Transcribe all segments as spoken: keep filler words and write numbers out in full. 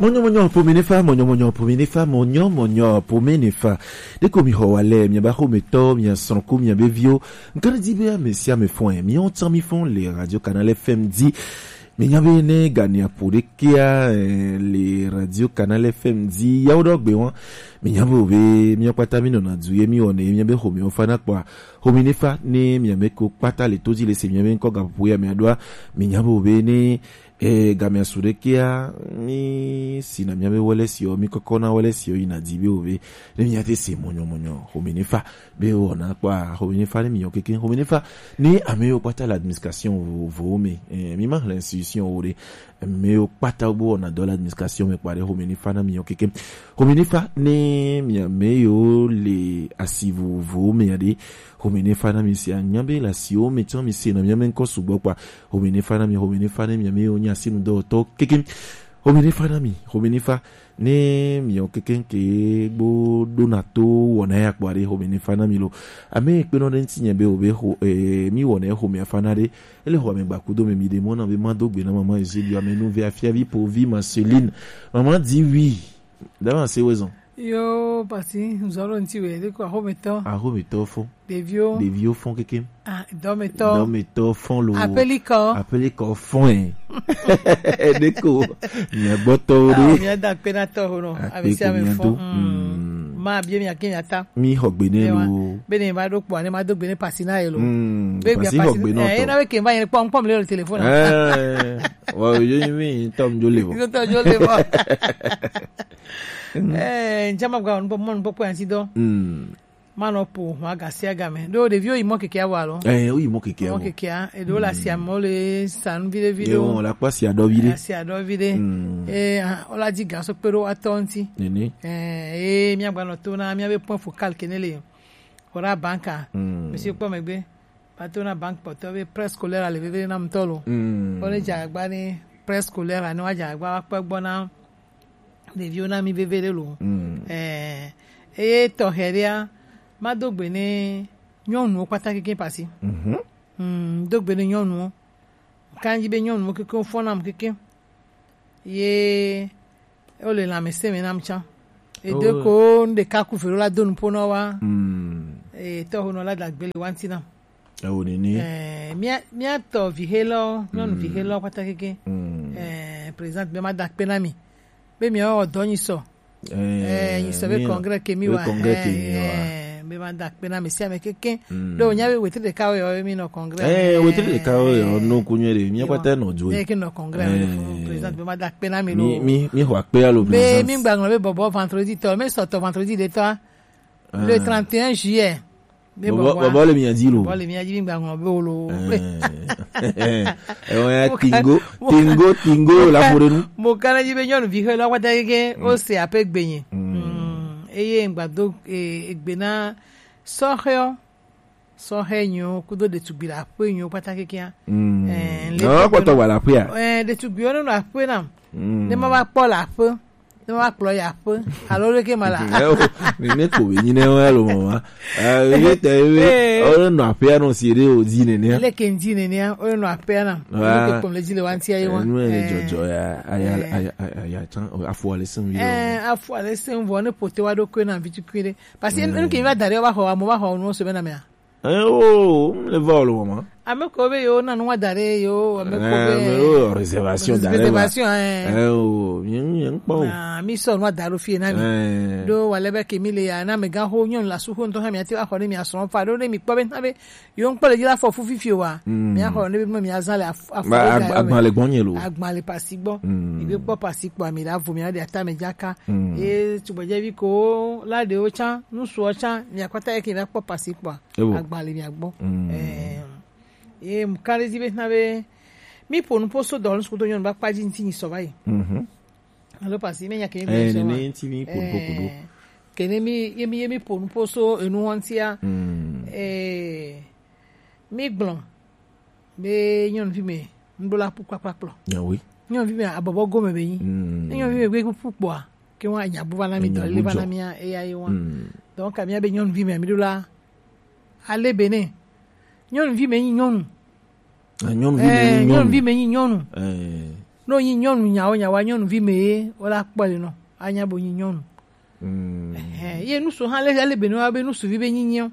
Mɔnyɔmɔnyɔ ƒome ne fa, mɔnyɔmɔnyɔ ƒome ne fa, mɔnyɔmɔnyɔ ƒome ne fa. Ɖeko mi xɔ wa lɛ, mia ba xɔmetɔ, mia srɔ̃ku, mia be viwo. Ŋkana di be ame sia ame fɔn, mi ŋutɔ mi fɔn le Radio Canal F M di. Mi nya be ne gania ƒo ɖekea, eh, le Radio Canal F M di, yawo ɖɔ gbe wɔn. Mi nya be o be, mi kpata mi nɔna du ye mi wɔne, mi nya be xɔme wo fa na kpɔa. Xɔme ne fa, ne mia me ko kpata le to dzi le se mia be ŋkɔ gaƒoƒo ya mia ɖoa. Mi nya be o be ne E, gamea su ɖekea, mi sina mia be wele sio, mi kɔkɔ na wele sio yina di be o be, ne mia te se mɔnyɔ mɔnyɔ, xɔme ne fa, be o na kpɔa, xɔme ne fa ne mi yɔ keke, xɔme ne fa, ne ame yo kpata la administration vo, vo me, eh, mi ma hle institution o ɖe, ame yo kpata bo na dɔ la administration me kpare, xɔme ne fa na mi yɔ keke, xɔme ne fa, ne mi ame yo le asi vo, vo me ya ɖe, xɔme ne fa na mi sia, nya be la si o me tsɔ mi se na mia me ŋkɔ sugbɔ kpɔa, Xɔme ne fa na mi, xɔme ne fa ne mi, mi wo nyi asinu dɔwɔtɔ keke. Xɔme ne fa na mi, xɔme ne fa ne mi wo keke ke gbo ɖona to wɔna ya kpɔ aɖe, xɔme ne fa na mi lo. Ame kpe nɔ ɖe ŋuti nye be o be xɔ, eh, mi wɔna xɔme fa na ɖe. Ele xɔ ame gbakudo me mi ɖe mɔ na be ma do gbe na mama Ezeli ame nu ve afia vi po vi Marceline. Mama di wi. Dama se wezɔn. Yo, pasi, nzɔlɔ ŋuti we, ɖeko axɔmetɔ. Axɔmetɔ fɔ. Ɖeviwo. Ɖeviwo fɔn kekem. Ah, dɔmetɔ. Dɔmetɔ fɔn lo. Apelikɔ. Apelikɔ fɔn ɛ. Ɖeko. Miagbɔtɔwo ɖe. Ah, miada akpe na tɔ ho nɔ. Akpe ame sia ko ame miado. Fɔn. Mm. Mm. Ma bie mi ake mi ata. Mi xɔ gbe ne lo. Be ne ma ɖo kpɔ, ne ma do gbe ne pasi na ye lo. Mm. Be pasi gbia xɔ pasi gbe nɔ eh, tɔ. Ena be ke va ye kpɔ, kpɔ mi le téléphone. Eh. Wa yo mi tɔ mi jo le bo. Yo tɔ jo le bo. Eh, njama gwa on bo mon bo ko anti do. Mm. Manɔ po ho aga sia game. Ɖo ɖeviwo yi mɔ keke awa lo. Eh, wo yi mɔ keke awa. Mɔ keke a, eɖewo le asia me, wo le sa nu viɖe viɖe. Ye wo le akpa sia ɖɔ viɖe. Asia ɖɔ viɖe. Mm. Eh, ah, wo la di ga so kpe ɖo atɔ ŋuti. Nene. Eh, eh, mia gba nɔ to na mia be point focal ke ne le. Ora banka. Mm. Monsieur kpɔ megbe. Pato na banque kpɔtɔ be prêt scolaire le veve na mutɔ lo. Mm. Wo ne dza agba ne prêt scolaire ne wa dza agba wa kpɔ gbɔ na ɖeviwo na mi veve ɖe lo. Mm. Eh, eye tɔxɛ ɖea, ma do gbe ne nyɔnuwo kpata keke pasi. Mhm. Mm, do gbe ne nyɔnuwo. Kanji be nyɔnuwo keke wo fɔ nam keke. Ye wo le lãmesẽ me nam tsã. Edo ko nu ɖeka ku velo la do nuƒo nɔ wa. Mm. Eh, tɔxo nɔ la dagbe le wanti nam. Ewo nene. Eh, mia, mia tɔ vihelɔ, nyɔnu vihelɔ kpata keke. Mm. Eh, président be ma da akpe na mi. Be mi o dɔ nyi sɔ. Eh, nyi sɔ be congrès ke mi wa. Congrès ke mi wa. Eh, be ma da akpe na mi si ame keke. Mm. Do nya be wetre ɖeka wo yo mi nɔ congrès. Eh, wetre ɖeka wo yo no kunye de. Mi kpata nɔ jo. Eh, ke nɔ congrès. Eh. Président be ma da akpe na mi lo. Mi, mi, mi xɔ akpe alo président. Be mi gba ŋlɔ be bɔbɔ vendredi tɔ, mi sɔ tɔ vendredi de tɔ. Le trente et un juillet. Bɔbɔ le mia di lo. Bɔbɔ le mia di mi gba ŋlɔ be o lo. Eh, eh, eh, tingo, tingo, tingo la fore nu. Mo kana di be nyɔnu vi xe la wata ke o se ape gbenye. Mm. Eye ngba do egbe na sɔxeɔ, sɔxe nyo kudo ɖetugbi la ƒe nyo kpata kekea. Mm. Eh, le kpɔtɔ wa la ƒea. Eh, ɖetugbiwo no la ƒe na. Mm. Ne ma va kpɔ la ƒe. Ne wa kplɔ ya ƒe alo ɖeke ma la. Eh, o, nene ko be nyi ne wa lo mama. Eh, ye te we, eh, o le nɔ aƒea nɔ si ɖe o di nene. Le ke di nene, o le nɔ aƒea na. Wa. Ke kpɔm le di le wa ntia ye wa. Nu le dzɔdzɔ ya, aya, aya, aya, aya, tsan, afɔ le sen vi. Eh, afɔ le sen vɔ ne pote wa ɖo ko na vi tukui ɖe. Parce que nu ke va da ɖe wa xɔ, amo va xɔ nu so be na mea. Eh, o, le va o lo mama. Ame ko be yo na nu wa da ɖe yo, ame ko be. Eh, yo, réservation da ɖe. Réservation, eh. Eh, o, mi, mi, mi kpɔ o. Ah, mi sɔ nu wa da ɖo fie na mi. Eh. Do wa le be ke mi le ya, na me ga ho nyɔnu la su ho ŋutɔ ha mi ati wa xɔ ne mi asrɔ̃ fa ɖo ne mi kpɔ be na be yo ŋkpɔ le dzi la fɔ fu fifi wa. Mm. Mi axɔ ne be mi azã le af-, afɔ. Ba, le ag-, ga yo me. Agba le gbɔ nye lo. Agba le pasi gbɔ. Mm. Mi be kpɔ pasi kpɔ mi la vo mi la de ata me dzaka. Mm. E tugbedze vi ko la de o tsan, nu suɔ tsan, mi akpata ye ke mi akpɔ pasi kpɔ. Ewo. Agba le mia gbɔ. Mm. Eh, ye mu kan ɖe dzi be na be mi ƒo nu ƒo so dɔ nu sukudo nyɔnu ba kpa dzi ŋuti nyi sɔ va yi. Mhm. Alo pasi me nya ke mi. Eh, sɔ ne ma. Ŋuti mi ƒo nu ƒo kudo. Eh, ke ne mi, ye mi, ye mi ƒo nu ƒo so enu ŋutia. Mm. Eh, mi gblɔ be nyɔnuvi me ŋɖo la ƒu kpakpakplɔ. Nyawoe. Nyɔnuvi me abɔbɔ gome be nyi. Mm. Ne nyɔnuvi me gbe ƒu kpɔa, ke wa nya bu va na mi dɔ le va na mia eya ye wa. Mm. Donc, ka mia be nyɔnuvi me mi ɖo la. Ale be ne. Nyɔnuvi me nyi nyɔnu. Ah, nyɔnuvi me nyi nyɔnu. Eh, nyɔnuvi me nyi nyɔnu. Eh. No nyi nyɔnu nyawo nyawa nyɔnuvi me ye, wo la kpɔ le nɔ. Anya bo nyi nyɔnu. Mm. Ɛhɛn, ye nusu hã le, ale be no be nusuvi be nyinyi o.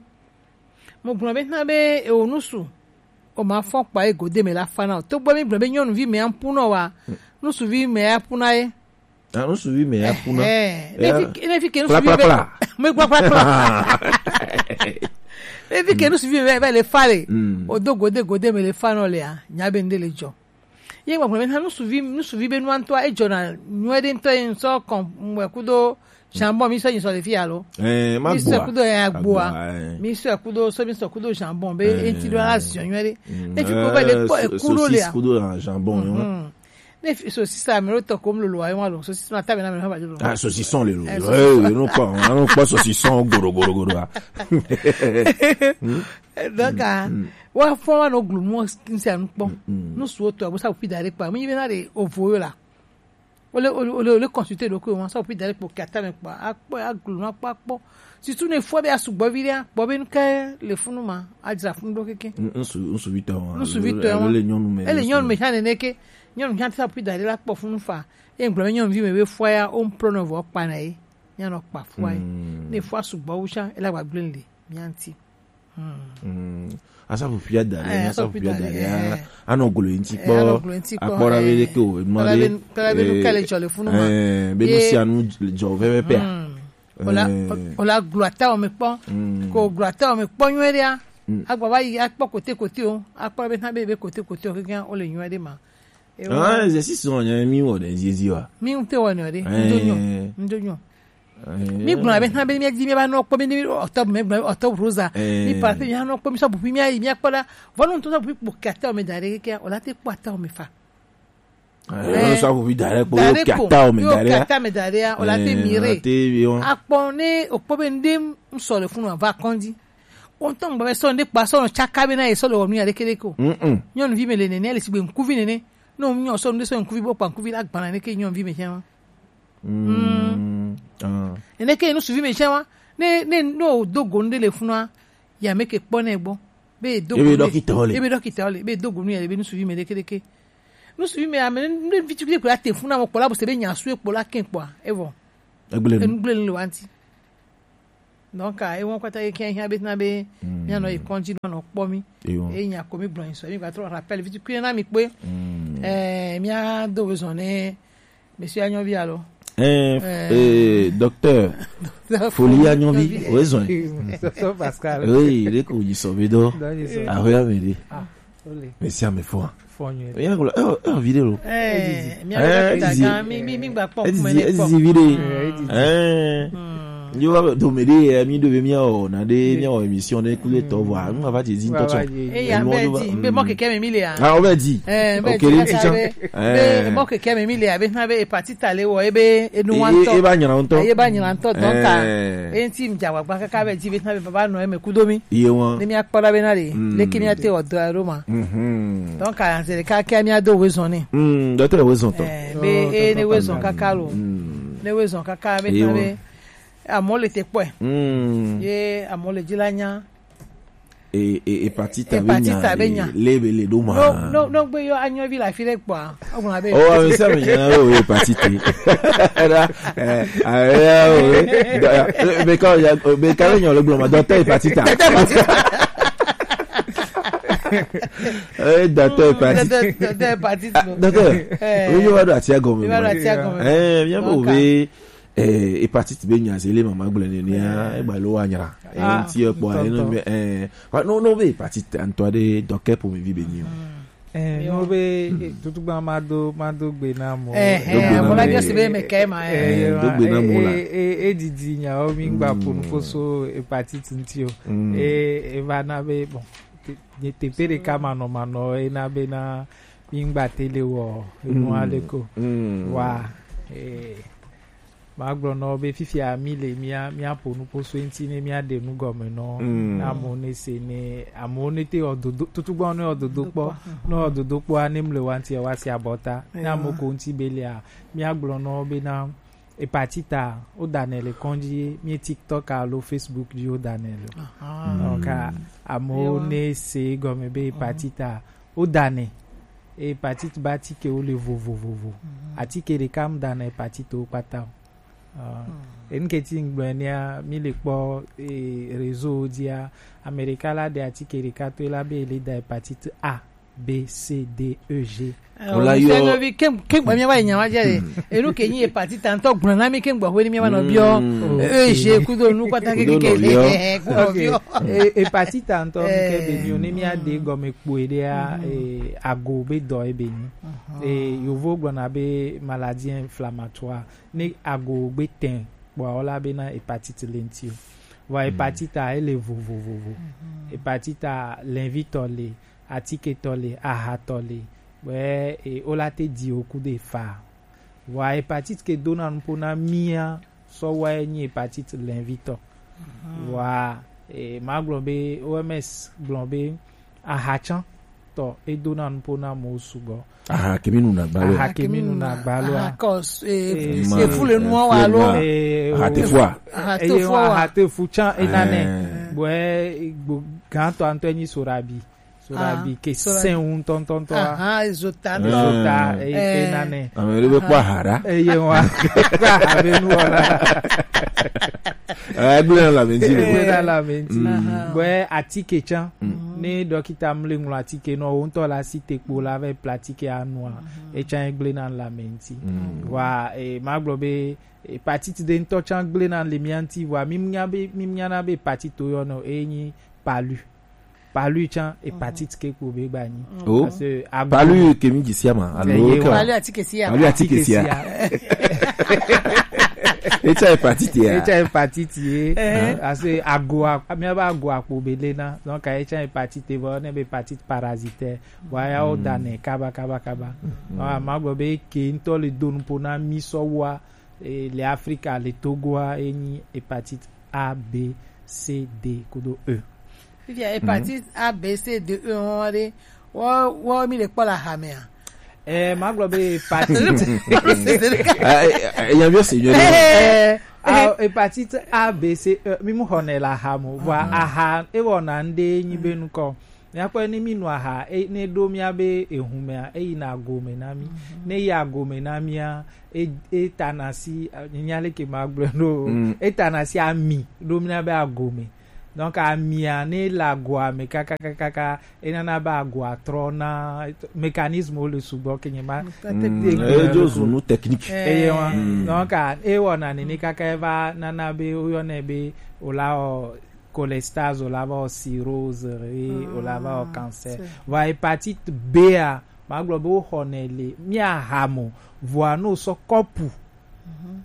Mo gblɔ be hã be ewo nusu. O ma fɔ kpa ye gode me la fa na o. To gbɔ mi gblɔ be nyɔnuvi me ampu nɔ wa. Nusuvi me ampu na ye. Ah, nusuvi me ya kuna. Ɛhɛn, ne fi, ne fi ke nusuvi be, me gblɔ kpla kpla. Ne fi ke nusuvi be, be le fa le. Mm. O do gode gode me le fa nɔ le a. Nya be nde le jɔ. Ye gba gblɔ be hã nusuvi, nusuvi be nua ŋutɔa, ejɔna nyuie ɖe ŋutɔ ye ŋsɔ kɔn mwe kudo jambon mi sɔ nyi sɔ le fi alo. Eh, ma mi sɔ gboa. Kudo ya gboa. Agboa, eh. Mi sɔ kudo, so mi sɔ kudo jambon be enti do la ziɔ nyuie ɖe. Mm, ne fi ko be le kpɔ eh, so-, eku ɖo le sosis a. Kudo jambon, yo. Mhm. Ne fi-, sosis a mi ɖo tɔ ko mi lolo ayi wa lo. Sosis ma ta be na mi na ba lo. Ah, saucisson le lo. Eh, eh, saucisson. Eh, non pas, non pas saucisson, goro, goro, goro, ah. Donc, ah, wa fɔ wa no glu mo nsi anu kpɔ. Mm, mm. No su oto, a bo sa pi dare kpa. Mi be na de ovo yo la. Ole, ole, ole, ole consulter ɖokuiwò ma, sɔ ƒi da ɖe kpo kata me kpo, akpɔ, aglu nu akpɔ, akpɔ. Surtout ne fɔ be asugbɔ vi ɖea, kpɔ be nu ke le funu ma, adzra funu ɖo keke. Ŋ-, ŋsu-, ŋsuvitɔ wa. Ŋsuvitɔ wa. Ele nyɔnu me. Ele nyɔnu me hã nene ke. Nyɔnu hã te sa ƒi da ɖe la kpɔ funu fa. Ye ŋgblɔ be nyɔnuvi me be fɔ ya, wo ŋplɔ nɔ vɔ kpa na ye. Mianɔ kpa fua ye. Mm. Ne fɔ asugbɔ wu tsã, ele agba gblẽ le mia ŋuti. Hmm. Hmm. Asaƒuƒui ada ɖe, eh, asaƒuƒui ada ɖe, eh. Anɔ glo ŋuti kpɔ, eh, anɔ glo ŋuti kpɔ, akpɔ ɖa be eh. Ɖeke o, enua kpɔ ɖa ɖe, be, kpɔ ɖa be nu eh, ke le dzɔ le funu ma. Eh, be nu sia nu dzɔ pɛpɛpɛa. Hmm. Ola, eh. Ola glo atawɔ me kpɔ. Hmm. Ko glo atawɔ me kpɔ nyuie ɖea. Hmm. Agba va yi akpɔ kote kote o, akpɔ be na be, be kote kote o, keke o le nyuie ɖe ma. Ah, exercice wɔn nyɛ mi wɔ ɖe zizi wa. Mi ŋute wɔ nɔ ɖe. Eh. Ŋdo nyɔ. Ŋdo nyɔ. Eh. Mi gblɔ be hã be mi di mi ba nɔ kpɔ mi ni ɔtɔ me gblɔ ɔtɔ rosa. Eh. Mi pa pe mi anɔ kpɔ mi sɔ bupi mi ayi mi akpɔ la. Vɔnu to sɔ bupi kpɔ kata o me da ɖe ke o la te kpɔ ata o me fa. Eh, sɔ bupi da ɖe kpɔ kata o me da ɖe. Kata me da ɖe o la te mi re. Akpɔ ne o kpɔ be ŋde ŋsɔ le funu va kɔndi. O ŋutɔ ŋgbe be sɔ ŋde kpa sɔ nɔ tsaka be na ye sɔ le wɔ nu ya ɖeke ɖeke o. Mm-mm. Nyɔnuvi me le nene, ele sigbe ŋkuvi nene. Ne o nyɔ sɔ ŋde sɔ ŋkuvi bo kpa ŋkuvi la gbana ne ke nyɔnuvi me tsɛ ma. Mm. Mm. Ah. Ene ke nusuvi me tsɛ ma. Ne, ne, ne o do go ŋde le funua, ya me ke kpɔ ne gbɔ. Be do go ebe ne dɔkita o le. Ebe dɔkita o le. Be do go nu ya le be nusuvi me ɖeke ɖeke. Nusuvi me ame ne vi tukui kpla te funa mo kpla bo se be nya su e kpla ke kpɔ. Evɔ. Egble nu. Enugble nu le wanti. Donc, ah, ewɔn kpata ye kɛ hiã be na be, mm, mianɔ yi kɔndzi nɔ nɔ kpɔ mi. Eyo. Eyi nya ko mi gblɔ yin sɔ, mi gba trɔ rappel, viti kui na mi kpe. Mm. Eh, mia do bezɔn ne, monsieur Anyɔvi alo. Eh, eh, docteur. Docteur Foli Anyɔvi, Anyɔvi. Oye zɔn. Docteur Pascal. Oui, il est connu, sɔ be dɔ. Dɔ ye sɔ. Ah, oui, ah, mais. Ah. Ole. Mesi ame fɔa. Fɔ nyuie. Eya gblɔ, eh, eh, video lo. Eh, mi, mi, mi gba kpɔ. Ezizi, ezizi video. Eh, ezizi. Eh. Hmm. Yo va do me de, eh, mi do be mi o na de, mi o émission de kule to wa. Mi va ti zi to so. Eh, ya be di, be mo keke me mi le a. Ah, o be di. Eh, be di. Eh. Be mo keke me mi le a, be na be e parti tale wo, e be e nu wa to. E ba nyina to. E ba nyina to, donc, ah, eh, e ti mi ja wa gba kaka be di, be na be baba no e me kudo mi. Iye wan. Ne mi akpɔ ɖa be na ɖe, mm, leke mi ate wɔ dɔ ɖo ma. Mhm. Donc, anze ɖeka ke mi ado wezɔn ne. Mm, dɔtɔ wezɔn tɔ. Eh, be, oh, eh, ne wezɔn kaka lo. Mm. Ne wezɔn kaka be. Iye wan. Be, amɔ le te kpɔe. Mm. Ye amɔ le dzi la nya. E, e, hepatite be nya. Hepatite be nya. Le be le ɖo ma. No, no, no gbe yɔ Anyɔvi la fi le kpɔa. Oh, ame sia ame nyana be hepatite. Era, eh, ah, ya, oh, eh, do-, eh, be ka, ya, be ka le nyɔ le gblɔ ma, docteur hepatite. Docteur hepatite. Eh, docteur hepatite. Docteur, docteur hepatite. Ah, docteur. Eh. Oui, yo va do atia gɔme. Yo va do atia gɔme. Eh, bien. Donc, be, eh, hepatite be nya se le mama gblɔ ne nia, eh, e ba lo wa nyra. Ah, eh, ti e kpɔ, eh, no, eh, wa, no, no be hepatite ŋutɔ ɖe dɔke ƒomevi be nyi o. Eh, no be, eh, tutugba ma do, ma do gbe na mo. Eh, eh, mo la biɔ si be me ke ma, eh. Eh, do gbe na mo la. Eh, eh, eh, didi nya o mi gba ponu foso hepatite ŋti o. Mm. Eh, e va na be, bon, te, te, te pe ɖeka manɔ, manɔ, e na be na mi gba te le wɔ, enu ale ko. Mm. Wa, eh, magblɔ nɔ be fifia mi le mia, mia ƒo nu ƒo so eŋti ne mia ɖe nu gɔme nɔ. Mm. Na amewo ne se ne, amewo ne te wɔ dodo, tutugbawo ne wɔ dodo kpɔ, ne wɔ dodo kpɔa ne mle wa ŋti wa se abɔta. Ne amewo ko ŋti be lia, mia gblɔ nɔ be na hepatite wo da nɛ le kɔndzi ye, mi TikTok alo Facebook dzi wo da nɛ le. Aha. Donc, amewo ne se gɔme be hepatite wo da nɛ. hépatite be atikewo le vovovovo. Atike ɖeka mu da na hépatitewo kpata o. Ah, enu ke ti ŋgblɔ nɛa, mi le kpɔ, eh, réseau dzia, ame ɖeka la ɖe atike ɖeka to la be ele da hépatite A, B, C, D, E, G. Wò la yɔ- Nyɔvi ke ke gba mi va nya wa je. Enu ke nyi hépatite ŋutɔ gblɔ na mi ke gba hwe ni mi va nɔ biɔ. E, G kudo nu kpata ke ke ke. Kudo nɔ biɔ. Hépatite ŋutɔ ke be mi o ne mi ade gɔme kpoe ɖea, eh, ago be dɔ ebe nyi. Eh, yovo gblɔ na be maladie inflammatoire. Ne ago gbe tɛ kpɔa, wola be na hépatite le ŋuti o. Vɔa hépatite a ele vovovovo. Hépatite a lɛnvitɔ le, atiketɔ le, ahatɔ le. Bɛ e wola te di o ku de fa. Vɔa hépatite ke dona nupo na mia sɔ wa e nyi hépatite lɛnvitɔ. Vɔa e ma gblɔ be O M S gblɔ be ahatsã tɔ e dona nupo na mo sugbɔ. Aha kemi nu na gbalo. Aha kemi nu na gbalo. Aha kɔ e efu le nu wa lo. Aha te fua. Aha te fua. Aha te fu tsan e nane. Bo e gbo gantɔ antɔ nyi sorabi. Sorabi ke sen un tɔntɔntɔ. Aha zota. Zota e nane. Ame ɖe be kpɔ aha ɖa. Eye wa kpɔ aha be nu wala. Egblẽ na lãme ŋuti le. Egblẽ na lãme ŋuti. Bɔɛ atike tsã. Ne dɔkita mle ŋlɔ atike nɔ wo ŋutɔ la si te kpo la vɛ pla atike anua. Etsã egblẽ na lãme ŋuti. Wa e ma gblɔ be hépatite ɖe ŋutɔ tsã gblẽ na le mia ŋuti vɔa mi nya be mi nya na be hépatite yɔ nɔ e nyi palu. Palu tsã hépatite ke kpo be gba nyi. Oh. Parce que agu- palu ke mi dzi sia ma alo ke palu atike sia. Palu atike sia. Etsa hépatite ya. Etsa hépatite ye. Parce que ago a- mi aba ago akpo be le na. Donc etsa hépatite vɔ ne be hépatite parasitaire. Wa ya o dane kaba kaba kaba. Ah, ma gblɔ be ke ŋutɔ le do nupo na mi sɔ wa, eh, le Afrika le Togo a e nyi hépatite A, B, C, D kudo E. Fifia hépatite A, B, C, D, E hɔn ɖe wɔ wɔ mi le kpɔ le aha mea. Eh, ma gblɔ be hépatite. Ah, eh, eh, ya viɔ si nyɔ ɖe. Eh, ah, hépatite A, B, C, E mi mu xɔnɛ le aha mo. Vɔa aha e wɔna ŋɖe nyi be nukɔ. Míakpɔe ne mínu aha e- ne ɖo míabe ehumea eyina agome na mí. Ne yi agome na mía e- etana si, eh, nya leke magblɔe ɖo o. Etana si ami ɖo míabe agome. Donc amia ne le agoa me kakakakaka enana be agoa trɔna, mécanisme wo le sugbɔ ke nye ma. Edzo zu nu technique. Eye wa. Donc ewɔna nene kaka eva nana be woyɔnɛ be wòla wɔ cholestase, wòla va wɔ cirrhose, eye wòla va wɔ cancer. Vɔa hépatite B a, magblɔ be woxɔnɛ le mía ha mo, vɔa ne wosɔ kɔpu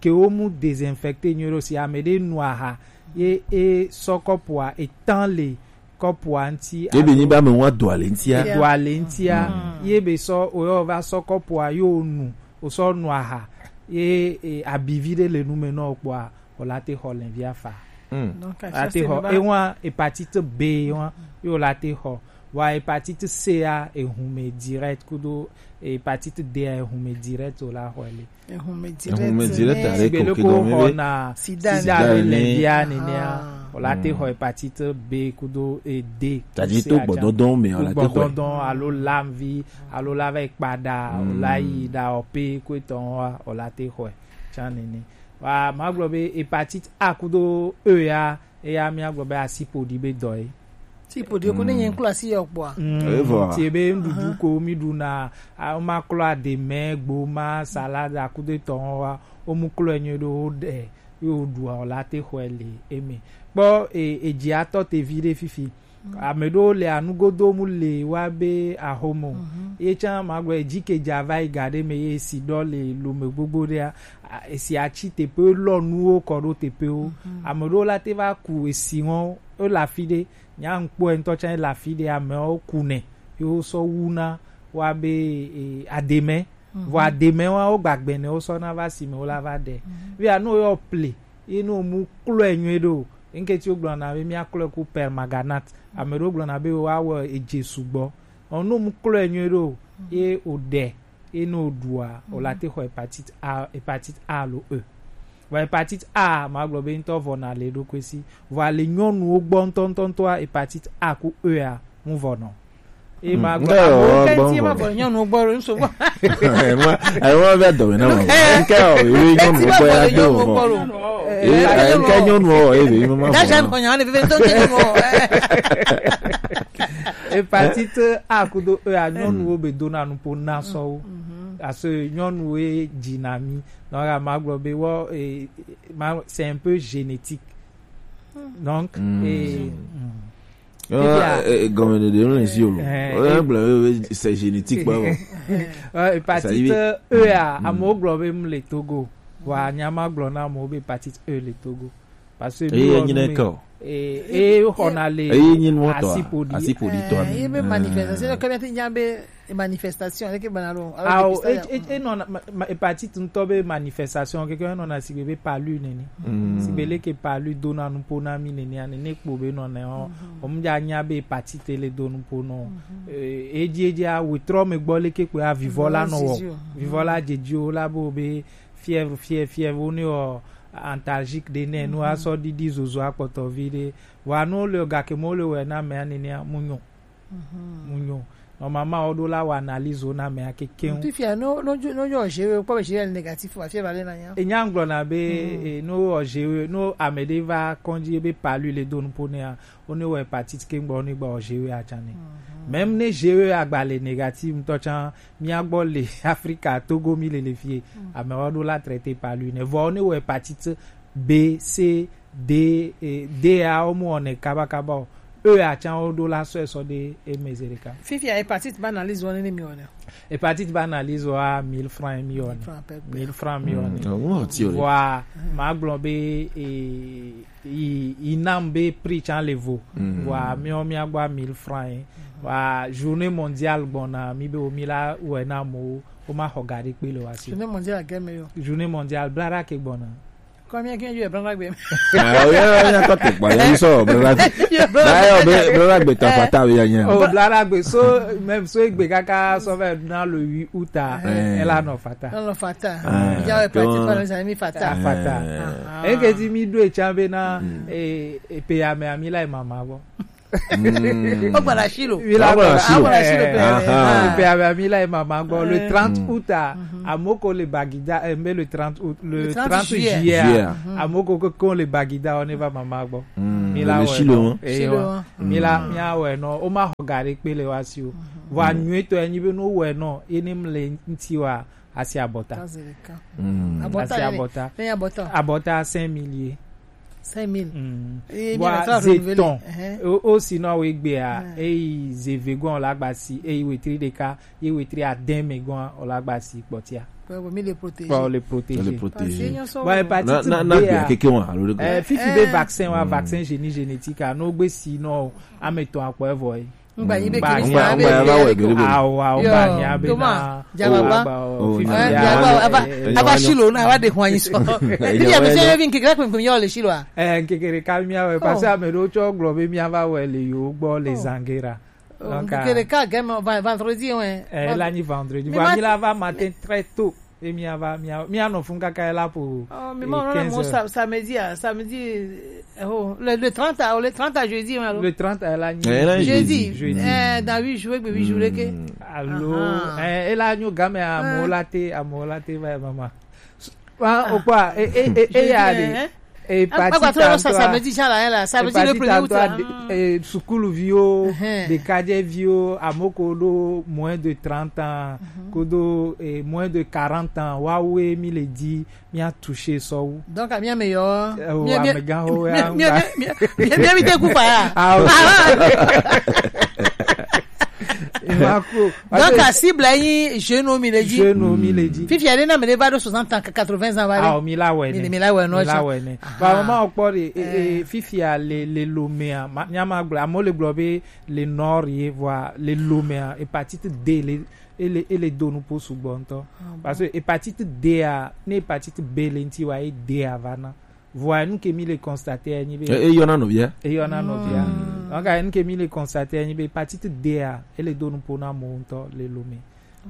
ke womu désinfecté nyuie ɖo si ame ɖe nu aha ye e sɔ kɔpua etã le kɔpua ŋuti. Ye be nyi be ame ŋua do ale ŋutia. Do ale ŋutia. Ye be sɔ oyɔ va sɔ kɔpua yo nu, wosɔ nu aha ye e, abivi ɖe le nu me nɔ kpɔa, wòla te xɔ lɛnvia fa. Donc, la te xɔ ewa hépatite B wa yo la te xɔ. Wa hépatite C a ehume direct kudo hépatite D a ehume direct wòla xɔ le. Ehume direct. Ehume direct are ko ke dɔn me be sida le lɛnvia nenea. Wòla te xɔ hépatite B kudo e D. Tadi to gbɔdɔdɔn me wòla te xɔ. Gbɔdɔdɔn alo lamvi alo la va kpa ɖa wòla yi ɖa ɔpe ko etɔn wa wòla te xɔ. Tsã nene. Wa magblɔ be hépatite A kudo E ya eya míagblɔ be asi ƒoɖi be dɔ ye. Ti ƒoɖi ko ne nye ŋklo asi yɔ kpɔa. Evɔ. Ti be nuɖuɖu ko mi ɖuna, a- ma klɔ aɖeme, gboma, salade, akudo etɔn wa, wo mu klɔ enyo ɖo wo ɖe yo ɖua o la te xɔe le eme. Kpɔ e- edzi atɔ te vi ɖe fifi. Ame ɖewo le anugodo mu le wa be ahomo. Ye tsã magblɔ edzi ke dza va yi ga ɖe me ye si ɖɔ le lome gbogbo ɖea, a- esi atsi teƒewo lɔ nuwo kɔ ɖo teƒewo. Ame ɖewo la te va ku esi ŋɔ wo le afi ɖe. Nya ŋkpɔe ŋutɔ tsã le afi ɖe amewo ku nɛ ye wosɔ wu na wa be e- ademe. Vɔ ademe wa wo gbagbɛ ne wosɔ na va si me wo la va ɖe. Via no yɔ ple ye no mu klɔe nyuie ɖo. Ŋketi wo gblɔna be mía klɔe ku permanganate. Ame ɖewo gblɔna be woawɔ edze sugbɔ. Ɔ no mu klɔe nyuie ɖo ye o ɖe ye no ɖua o la te xɔ hépatite A, hépatite A alo E. Vɔ hépatite A magblɔ be ŋutɔ vɔ na le ɖokui si. Vɔ ale nyɔnuwo gbɔ ŋutɔ ŋutɔ ŋutɔa hépatite A ku E a ŋu vɔ nɔ. E ma gbɔ. Ŋkɛ o, amewo ke gbɔ, ŋti ma gbɔ. Bɔ nyɔnu gbɔ lo, ŋsu gbɔ. Ema, ema bɛ dɔ me na ma. Ŋkɛ o, ewe nyɔnu gbɔ ya do o. E, ŋkɛ nyɔnu o, ewe ma. Dajan ko nya ne bebe to ke nyɔnu o. Hépatite A kudo E a, nyɔnuwo be dona nupo na sɔwo. Parce que nyɔnuwo ye dzi na mi. Donc, a ma gblɔ be wɔ, e, ma, c'est un peu génétique. Donc, e, mm. Gɔmɛɖeɖe ŋlɛ si o lo. Oyɔna gblɔ be c'est génétique kpɔ. Hépatite E a, amewo gblɔ be mu le Togo. Vɔa nya ma gblɔ na amewo be hépatite E le Togo. Parce que eye nyi ne ke o. E, e xɔna le eye nyi nuwo tɔ, asipo di. Asipo di tɔ. Eh, ye be manifestation, ke be nya be manifestation, ke bana lo. Awo, e, e, e nɔna, ma, ma, hépatite ŋutɔ be manifestation, ke, ke nɔna sigbe be palu nene. Sigbe leke palu dona nupo na mi nene, ane ne kpo be nɔna o. O mu dza nya be hépatite le do nupo nɔ. Eh, edzi, edzi a wetrɔ me gbɔ leke kpo a vivɔ la nɔ wɔ. Vivɔ la dzedzi o la bo be fièvre, fièvre, fièvre, wo ne wɔ antalgique ɖe nɛ, nu asɔ ɖiɖi zozo akpɔtɔ vi ɖe. Vɔa nu le gake mo le wɛ na mea nenea, mu nyo. Mu nyo. Normalement, wo ɖo la wɔ analyse wo na mea kekeŋ. Fifia, no, no, no, no, je, kpɔ be je le négatif, wa fièvre le na nya. E nya ŋgblɔ na be, e, no wɔ je, no ame ɖe va kɔndzi be palu le do nupo nea, wo ne wɔ hépatite ke ŋgbɔ, wo ne gba wɔ G E atsa nɛ. Même ne G E agba le négatif ŋutɔ tsa, mía gbɔ le Afrika, Togo mi le le fie, amewo ɖo la traité palu nɛ. Vɔ wo ne wɔ hépatite B, C, D, e, D a wo mu wɔnɛ kabakaba o. E atsa wo ɖo la sɔe sɔ ɖe eme zeɖeka. Fifia hépatite ba analyse wɔnɛ ne mi wɔnɛ. Hépatite ba analyse wa mille francs mi wɔnɛ. Mille francs pɛpɛ. Mille francs mi wɔnɛ. Vɔa, ma gblɔ be, e, yi, yi nam be prix tsa le vo. Vɔa, miɔ mia gba mille francs ye. Vɔa, journée mondiale gbɔna, mi be wo mi la wɛ na mo, wo ma xɔ ga ɖe kpe le wa si. Journée mondiale gɛmɛ yo. Journée mondiale bla ɖa ke gbɔna. Kɔ mi ke yo bla ɖa gbe. Ah, oya, oya, kɔ to kpa, ya so bla ɖa. Ba yo be bla ɖa gbe ta fata be ya nya. Oh, bla ɖa gbe so, même so egbe kaka so ve na le huit août a, elle a no fata. Nɔ fata. Jawe pati pa sa mi fata. Fata. Eke ti mi do etsa be na, e, e pe ya me ami la mama bo. O gbara silo. Mi la gbara silo. O gbara silo pe. E pe ya me ami la mama bo. Le trente août a, amoko le Bagida, e, mais le trente août, le trente juillet. Amoko ko le Bagida, on va mama bo. Mi la silo. Mi la, mi a wɛ nɔ, o ma xɔ ga ɖe kpe le wa si o. Vɔa nyuie tɔ enyi be no wɛ nɔ, ye ne mle nti wa, asi abɔta. Asi abɔta. Abɔta cinq mille ye. Cinq mille. Vɔa ze tɔn. O, o si nɔ wo egbea, eyi ze vegon la gba si, eyi wetri ɖeka, ye wetri adɛn me gɔn o la gba si kpɔtia. Kpɔ mi le protégé. Kpɔ le protégé. Le protégé. Vɔa hépatite B a. Keke wa, alo le. Eh, fifi be vaccin wa, vaccin génie génétique a, no gbe si nɔ, ame tɔn akpɔ evɔ ye. Ngba yi be kini sa be. Awa, ngba nya be na. Jaba ba. Fifi ya. Ava, ava silo na, ava de hwan so. Ni ya be se vin keke ko mi yo le silo a. Eh, keke ka mi awe, parce que ame ɖewo tsɔ gblɔ be mi ava wɛ le yo gbɔ le Zangera. Donc, keke ka game vendredi, ouais. Eh, la ni vendredi. Voilà, mi la va matin très tôt. Et mi va, mi a, mi a no fun kaka la pour. Oh, mais moi, quinze heures. Samedi, ah, samedi, eh, oh, le, le trente, ah, le trente à jeudi, hein, alors. Le trente à la nuit. Eh, la jeudi. Jeudi. Eh, dans huit jours, huit jours, que. Allô, eh, et la, nous, game, à Molate, à Molate, ouais, maman. Wa o kpa, e, e, e, e ya de. Hépatite A, ça, ça me dit déjà là, hein, là, ça me dit le premier août là. Eh, sukuluviwo, ɖekadzeviwo, ame ko ɖo moins de trente ans, ko ɖo, eh, moins de quarante ans, wawe mi le di, mi a touché sɔwu. Donc, mi ame yo. Eh, mi ame gan ho ya. Mi mi mi mi mi te ku fa ya. Ah, ok. Donc, a cible yi jeune mi le di. Jeune mi le di. Fifi ale na me le va de soixante ans, quatre-vingts ans, va. Ah, mi la wɛ ne. Mi la wɛ no. Mi la wɛ ne. Ba mama o kpɔ de, e, e, fifi ale le Lomé a, nya ma gblɔ, amo le gblɔ be le nord ye, vɔa le Lomé a, hépatite D le, ele, ele do nu po sugbɔ ŋutɔ. Parce que hépatite D a, ne hépatite B le ŋti wa, e D a va na. Vɔa nu ke mi le constater nyi be. E, e yɔna nɔvia. E yɔna nɔvia. Donc, nu ke mi le constater nyi be hépatite D a, ele do nu po na mo ŋutɔ le Lomé.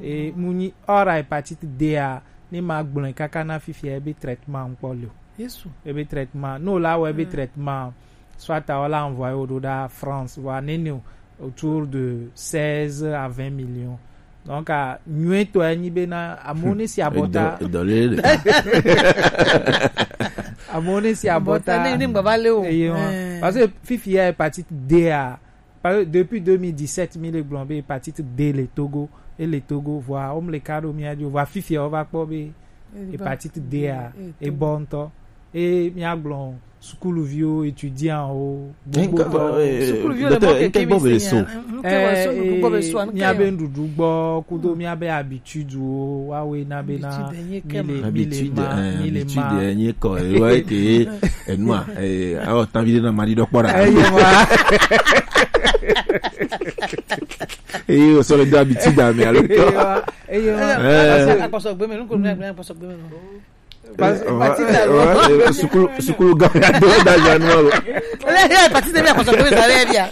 E, mu nyi ora hépatite D a, ne ma gblɔe kaka na fifia, ebe traitement ŋkpɔ le o. Yesu. Ebe traitement. No la wɔ ebe traitement. Soit a wala envoyer wo ɖo ɖa France, wa nene o. autour de seize à vingt millions. Donc, a nyuetɔ enyi bena amewo ne si abɔta. Edɔ lele. Amewo ne si abɔta. Ne ne gbava le o. Eye wa. Eh. Parce que fifi ya hépatite D a, parce que depuis deux mille dix-sept mi le gblɔ be hépatite D le Togo, e le Togo, vɔa wo mle ka ɖo mía dzi o, vɔa fifi ya wo va kpɔ be hépatite D a e bɔ ŋutɔ. E mía gblɔ sukuluviwo, étudiant wo, gbogbo tɔ. Sukuluviwo le mɔ keke mi se nya. Mía be nuɖuɖu gbɔ kudo mía be habitude wo, wa we na be na mi le, mi le ma, mi le ma. Habitude enyi kɔ ewa ke enua, eh, awo tan vi de na mari dɔ kpɔ ɖa. Eye wa. Eye o sɔ le do habitude ame alo tɔ. Eye wa. Akpɔsɔ gbe me, nuko mi akpɔsɔ gbe me. Sukulu, sukulu gã ya do da ja nu alo. Le ya pati de mi akɔsɔ ko sa le bia.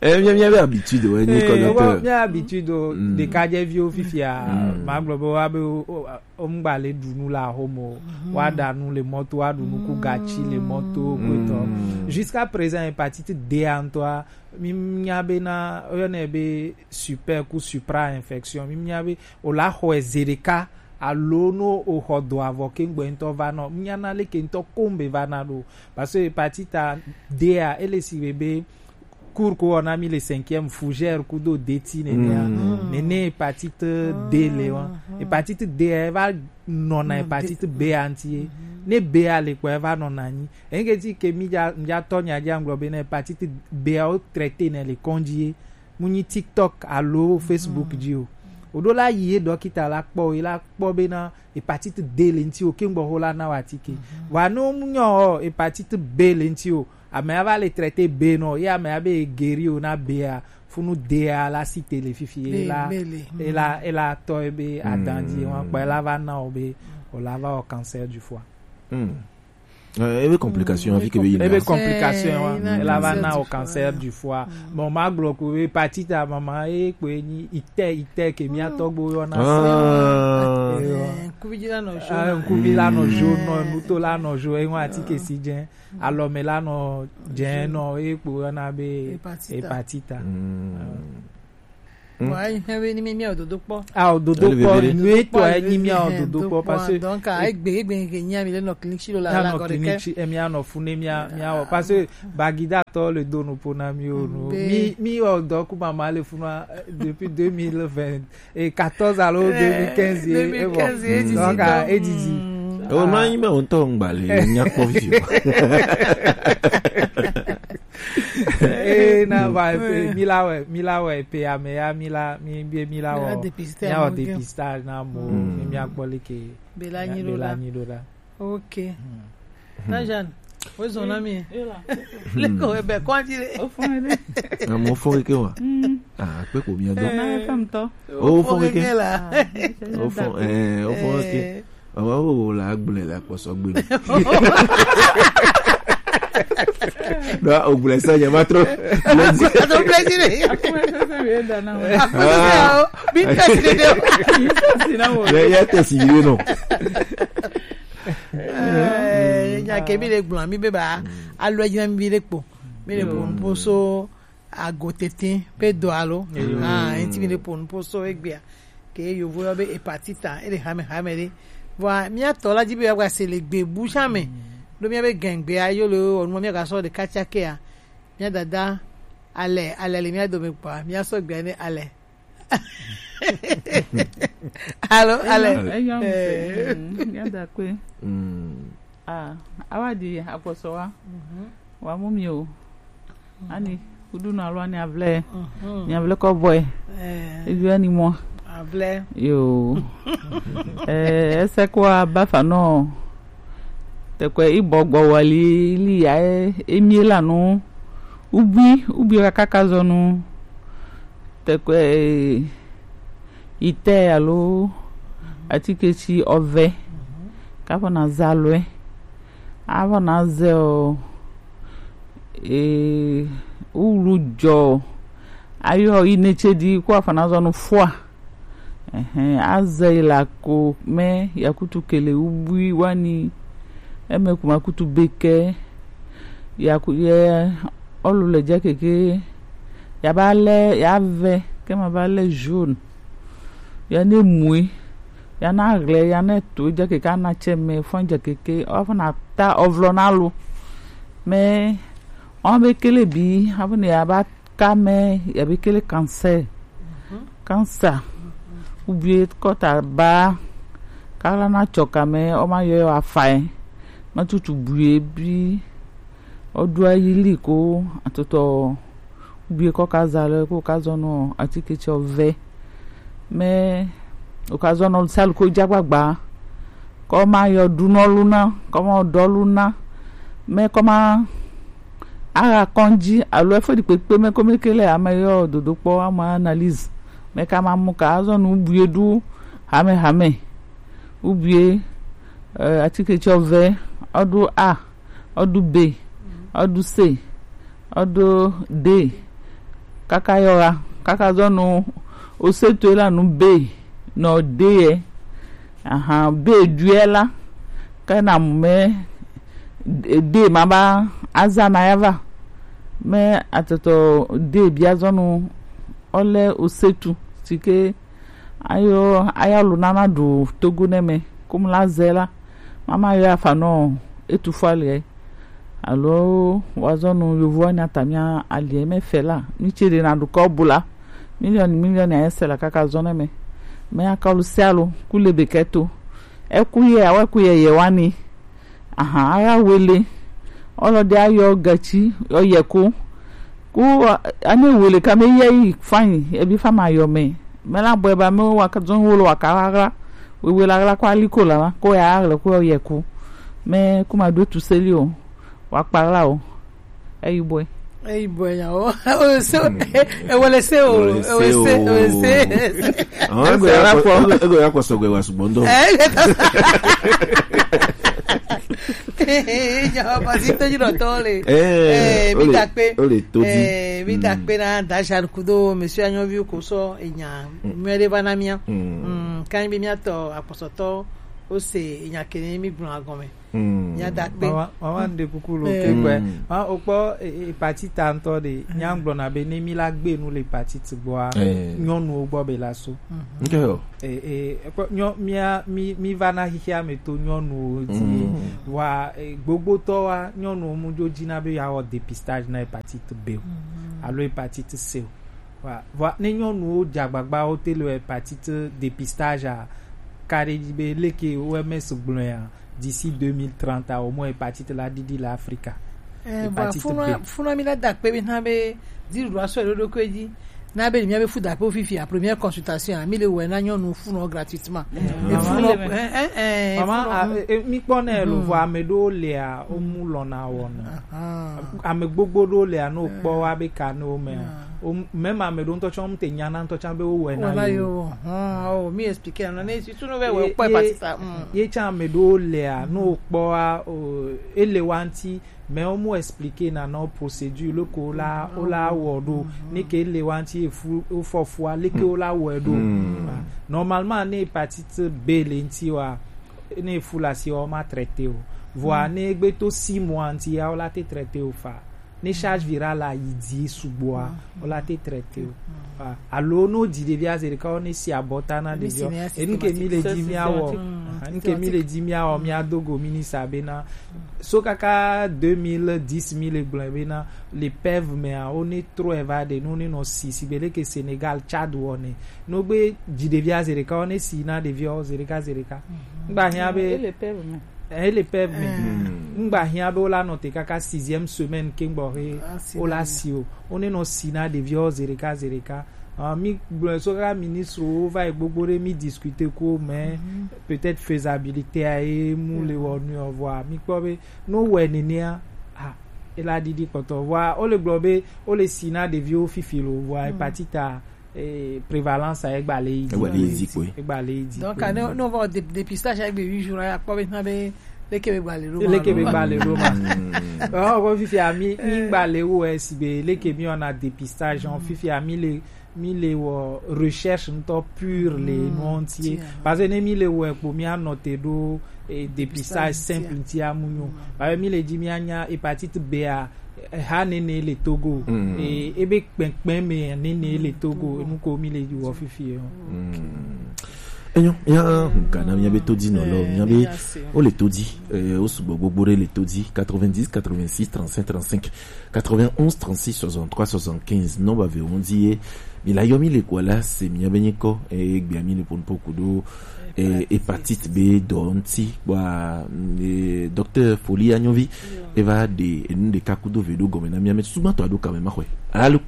Eh, mi mi be habitude we ni ko docteur. Mi habitude o de ka je vi o fifia. Ma gblɔ be wa be o ngba le ɖu nu la homo. Wa ɖa nu le mɔto, wa ɖu nu ku gatsi le mɔto, ko tɔ. Jusqu'à présent, hépatite D a ŋutɔa, mi nya be na, oyɔnɛ be super ku supra infection. Mi nya be o la xɔe zi ɖeka alo no o xɔ do avɔ ke ŋgbɛ ŋutɔ va nɔ. Mi nya na leke ŋutɔ ko ŋbe va na ɖo. Parce que hépatite D a, ele si be be cours ko wɔna mi le cinquième, fougère kudo deti nenea. Nene hépatite D le wa. Hépatite D a, e va nɔna hépatite B a ŋuti ye. Ne B a le kpɔ, e va nɔna anyi. Eyi ke ti ke mi dza, mi dza tɔ nya dzi agblɔ be ne hépatite B a wo traité ne le kɔndzi ye. Mu nyi TikTok alo Facebook dzi o. O ɖo la yi ye dɔkita la kpɔ, ye la kpɔ be na hépatite D le ŋuti o, ke ŋgbɔ ho la na wa atike. Wa no mu nyɔ o, hépatite B le ŋuti o. Ame a va le traité B nɔ, ye ame a be guéri o na B a, funu D a la si te le fifi, e la, e la, e la tɔ e be adan dzi, wa kpɔ e la va na o be, o la va o cancer du foie. Eh, ebe complication afi ke be yina. Ebe complication wa. Eh, ela va na o cancer du foie. Bon, ma gblɔ ko be hépatite a mama e ko enyi ite ite ke mia tɔgbo yɔ na sa. Eh, kuvi la nɔ jo. Ah, kuvi la nɔ jo, nɔ nuto la nɔ jo, e wa atike si dze. Alɔme la nɔ dze nɔ e kpo yɔ na be hépatite. Hépatite. Bon, ayi hɛn be ni mi mi o dodo kpɔ. Ah, o dodo kpɔ, nyuitɔ e ni mi o dodo kpɔ parce que donc a egbe egbe ke nya mi le nɔ clinique si lo la la nɔ clinique si e mi anɔ fune mi mi o parce que Bagida tɔ le do no po na mi o no. Mi mi o dɔ ku mama le funu depuis deux mille vingt et quatorze alo deux mille quinze e bon. Donc a edidi. O ma yi me o ntɔ ngba le nya kpɔ vi. Eh, na va eh, mi la wɛ mi la wɛ pe ame ya mi la mi bi mi la wɔ mi la wɔ dépistage na mo mi mi akpɔ leke bela nyi do da. Ok. Na Jeanne, o zɔn na mi. Leko ebe kɔnji le. O fun de. Na mo fun ke wa. Ah, pe ko mi do. Na fam to. O fun ke la. O fun eh o fun ke. Awa wo wo la gblẽ le akpɔsɔgbe me. Ɖo o gblẽ sa nya ma trɔ. Ato plaisir. Ato plaisir. Bi test de. Bi test na wo. Le ya test yi no. Eh, nya ke mi le gblɔ mi be ba alo dzi na mi le kpo. Mi le kpo so agotete pe do alo. Ah, enti mi le po nu po so egbea ke yovo yɔ be hépatite a, ele hame hame ɖe. Vɔa mía tɔ la dzi be yewoagba se le gbe bu tsã me. Ɖo mía be gɛngbea yo le wɔnu mía gasɔ ɖeka tsakea. Mía dada ale ale le mía dome kpɔa mía sɔ gbea ne ale. Alo ale. Eyɔ ŋusẽ. Mía da kpe. Ah, awa di agbɔsɔ wa. Wa mu mi o. Ani kudu na lo ani avle. Ni avle ko boy. Ebi ani mo. Avle. Yo. Eh, ese ko aba fa no. Te ko i bogbo wali li ya e mi la no. Ubi ubi ka ka zo no. Te ko e ite alo atike ti ɔvɛ kafɔ na za lɔe afɔ na zɛ o ee wulu jɔ ayɔ inetse di ko afɔ na zɔ no fua ɛhɛn azɛ yi la ko mɛ yakutu kele ubui wani ɛmɛ kuma kutu bekɛ Ya ku ye olu le ja keke, ya ba le ya ve ke ma ba le jaune. Ya ne mui, ya na gle, ya ne to ja keke ana che me fon ja keke, o fo na ta o vlo na lu. Me o be kele bi, a fo ne ya ba ka me, ya be kele cancer. Cancer. Ubie kota ba, kala na choka me, o ma yo afa e. Ma tutu bue bi, o du ayili ko, atoto ubie ko ka za le, ko ka zo no atike che o ve. Me o ka zo no salu ko ja gbagba. Ko ma yo du no lu na, ko ma do lu na. Me ko ma aga kɔndzi alo efo ɖi kpekpe me kome ke le ame yɔ dodo kpɔ ama analyse me ka ma mu ka azɔ nu ubue ɖu hame hame. Ubue, eh, atike tsɔ ve, ɔɖu A, ɔɖu B, ɔɖu C, ɔɖu D, kaka yɔ ha kaka zɔ nu osetue la nu B nɔ D yɛ. Ahan, B ɖuɛ la, ke na mu me D ma ba aza na ya va. Me atɔtɔ D bia zɔ nu ɔlɛ osetu sike ayo aya lu nana ɖu Togo nɛ me, kum la zɛ la, mama yɔ afa nɔ etu fɔ aliɛ. Alo wazɔ nu yovo wani atamia aliɛ me fɛ la, mi tse ɖe na ɖu kɔ bu la, miliɔni miliɔni ayɛ sɛ la kaka zɔ nɛ me. Me akɔlu sɛ alo ku le be kɛ to. Ɛku yɛ, awɛ ku yɛ yɛ wani. Ahan, ara wele. Ɔlɔdi ayɔ gatsi, yɔ yɛ ko. Ku, a-, ane wele ka me yɛ yi fanyi, ebi fa ma yɔ me. Me la bɔɛ ba me wa ka zɔn wolo wa ka aɣla. Wewe la aɣla ko ali ko la, ko ya aɣla ko yɔ yɛ ko. Me ku ma do tu seli o. Wa kpa aɣla o. Eyi bɔɛ. Eyi bɔɛ ya o. O se o. E wele se o. E wele se o. E wele se. Àwọn ẹgbẹ́ yà kọ, ẹgbẹ́ yà kọ sọ̀gbẹ̀ wà ṣùgbọ́n dọ̀. Ìjọba sí tójú lọ tọ́ le. Eh, mi dà pé, ó lè tójú. Eh, mi dà pé na da Jean Kudo, monsieur Anyovi ko sọ èèyàn mẹ́rẹ́ bá ná mìíràn. Kan bí mi àtọ̀ àpọ̀sọ̀tọ̀ ó ṣe èèyàn kìíní mi gbọ̀n àgọ́ mi. Mía da kpe. Mama, mama, n ɖe kuku lo ke gbɛ. Ma o kpɔ, e, e, hépatite ŋutɔ ɖe, mía gblɔ na be ne mi la gbe nu le hépatite gbɔa, nyɔnuwo gbɔ be la so. Ok o. E, e, kpɔ, nyɔ, mía, mi, mi va na xixia me to nyɔnuwo dzi. Wa, e, gbogbotɔ wa, nyɔnuwo mu dzo dzi na be ya wɔ dépistage na hépatite B o. Alo hépatite C o. Wa, wa, ne nyɔnuwo dze agbagba wo te le hépatite dépistage a, ka ɖe dzi be leke O M S gblɔe a, d'ici deux mille trente a, au moins hépatite la ɖiɖi le Afrika. Eh, vɔ, hépatite B. Funɔ, funɔ mi la da kpe bi na be dziɖuɖu asɔ ɖo ɖo kpe dzi. Na be mi be fu da kpe fifi a première consultation a, mi le wɛ na nyɔnu funɔ gratuitement. Eh, funɔ, eh, eh, eh, mama, funɔ, a, eh, mi kpɔ ne lo vɔ ame ɖewo le a, o mu lɔna wɔna. Ame gbogbo ɖewo le a, no kpɔ wa be ka ne wo me a. O, même ame ɖewo ŋutɔ tsã, wo te nya na ŋutɔ tsã be wo wɔe na yo. Wɔe na yo. Hɔn, o, mi expliquer na ne, surtout no be wɔ kpɔ hépatite. Ye tsã ame ɖewo lea, no kpɔ a, o, ele wa ŋuti, mais wo mu expliquer na na wo procédure loko wo la, wo la wɔ ɖo. Ne ke ele wa ŋuti efu, wo fɔ fua, leke wo la wɔe ɖo. Normalement, ne hépatite B le ŋuti wa, ne efu la si wa, wo ma traiter o. Vɔa, ne egbe to six mois ŋuti ya, wo la te traiter o fa. Ne charge virale la yi dzi sugbɔa, o la te traiter o. Ah, alo no dzi ɖevia zi ɖeka, o ne si abɔta na ɖevia. E nu ke mi le dzi mia wɔ. Nu ke mi le dzi mia wɔ, mia do go mi ni sa be na. So kaka deux mille dix mi le gblɔ be na, le PEV me a, o ne trɔ eva ɖe, no ne nɔ si, si be leke Sénégal, Tchad wɔ ne. No gbe dzi ɖevia zi ɖeka, o ne si na ɖevia o zi ɖeka, zi ɖeka. Ngba hia be. Eh, ele PEV me. Ngba hia be wo la nɔ te kaka sixième semaine ke gbɔ he wo la si o. Wo ne nɔ si na ɖevia wo zi ɖeka zi ɖeka. Ah, mi gblɔ so kaka ministre wo va yi gbogbo ɖe mi discuter ko, mais peut-être faisabilité a ye mu le wɔ nu o vɔa. Mi kpɔ be no wɛ nenea, ah, e la ɖiɖi kpɔtɔ vɔa. O le gblɔ be o le si na ɖeviwo fifi lo vɔa hepatite a, eh, prévalence a egba le yi dzi. Egba le yi dzi kpoe. Egba le yi dzi kpoe. Donc, ne, ne on va au dé-, dépistage avec huit jours, ya kpɔ be na be leke be gba le ɖo ma. Leke be gba le ɖo ma. Oh, ko fifi a mi, mi gba le wo e si be leke mi wɔna dépistage, on fifi a mi le Mi le wɔ recherche ŋutɔ pure le nuwo ŋuti ye. Parce que ne mi le wɔe kpo, mi anɔ te ɖo, eh, dépistage simple ŋuti amu nyo. Parce que mi le dzi mi anya hépatite B a, eh, ha nene le Togo. Eh, ebe kpɛnkpɛn me nene le Togo. Enu ko mi le dzi wɔ fifi ye. Enyo, ya, hukana mi abe todi no lo, mi abe, o le todi, eh, o sugbɔ gbogbo ɖe le todi, quatre-vingt-dix, quatre-vingt-six, trente-cinq, trente-cinq. Quatre-vingt-onze, trente-six, soixante-trois, soixante-quinze. Non, ba ve, on dit, eh, mi la yɔ mi le kɔ la, se mi abe nyikɔ, eh, gbe mi le pon poku do, eh, hépatite B dɔ ŋuti, wa, eh, docteur Folie Anyovi, eva de, enu ɖeka kudo ve ɖo gɔme na mi ame sugbɔ tɔ aɖo kame ma xɔe. Allô?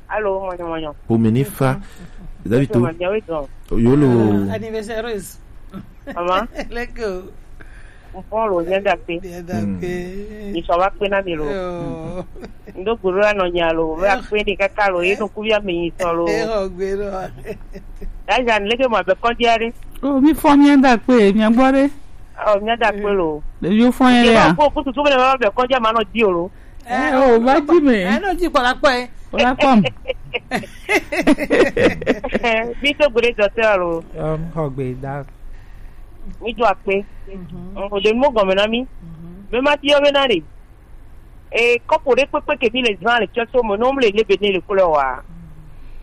Allô, mɔnyɔ, mɔnyɔ. Pomene fa. David to. Mɔnyɔ, oui, donc. Yolo. Euh, anniversaire. Maman. Leke. N fɔ lo, nyɛ da kpe. Nyɛ da kpe. Nyisɔ va kpe na mi lo. Yoo. N do gbolo la nɔ nya lo, va kpe ni kaka lo, ye no ku via mi nyisɔ lo. E xɔ gbe lo. Ya ja, leke mɔ abɛ kɔnji a ɖe. O, mi fɔ nyɛ da kpe, mi gbɔ ɖe. O, nyɛ da kpe lo. Ɖeviwo fɔ nyɛ ɖe ya. Ke ba ko kutu tu me va abɛ kɔnji a ma nɔ di o lo. Eh, o, va di me. Eh, no di kpɔ la kpɔ ye. Kpɔ la kpɔ m. Mi to gbe docteur lo. Um, xɔ gbe da. Mi do akpe. O de mo gɔme na mi. Me ma ti yɔ be na ɖe. E kɔpo ɖe kpekpe ke mi le zan le tsɔso mo, no mi le lebe ne le kule wa.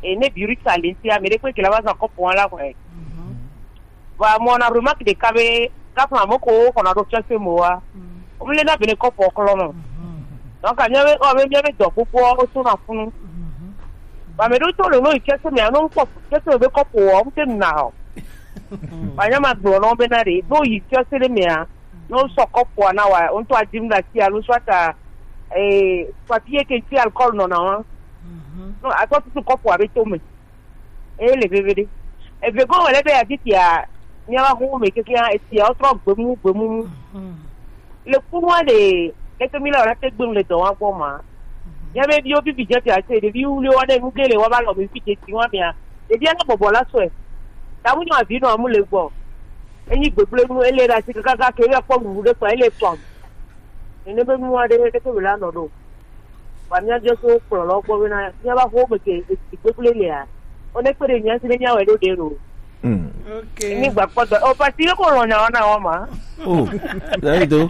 E ne biri sa le ntia, me ɖe kpe ke la va zan kɔpo wa la kɔe. Vɔ, mɔ na remarque ɖeka be, kafla mɔ ko xɔna ɖo fiase mo wa. Wo le na be ne kɔpo klɔ nɔ. Donc, anya be, o be, mia be dɔ kpokpo, o so na funu. Ba me ɖo to le no fiase me, no kpɔ fiase me be kɔpo, o te na o. Ba nya ma gblɔ nɔ be na ɖe, no yi fiase ɖe mea, no sɔ kɔpo na wa, o to adim da ti alo soit a, eh, papier ke ti alcool nɔ na wa. No, a sɔ tutu kɔpo a be to me. Eye le veve ɖe. Eve gɔ̃ wòle be afisia, míava xo me kekeŋ, esia wotrɔ gbemu, gbemu. Le kunua ɖe, leke mi le wòna te gbenu le dɔ wa gbɔ ma? Míabe viwo bibi dze fia se, ɖevi wuliwo wa ɖe nu ge le wa va lɔ mi fi dze ti wa mia. Ɖevia na bɔbɔ la sɔe. Ta mu nyɔ avi nɔ amu le gbɔ. Enyi gbegblẽ nu, ele ɖe asi kaka ke ya kpɔ nuɖuɖu ɖe kpa, ele tɔn. Nene be nua ɖe, leke wòle anɔ ɖo? Ba mía je so kplɔlɔ gbɔ bena míava xo me ke esi gbegblẽ lea, wo ne kpe ɖe mía si ne míawɔe ɖo ɖe lo. Mm. Ok. Mi gba kpɔ dɔ. O pasi yo ko lɔ nya wana wa ma. Oh, that is do.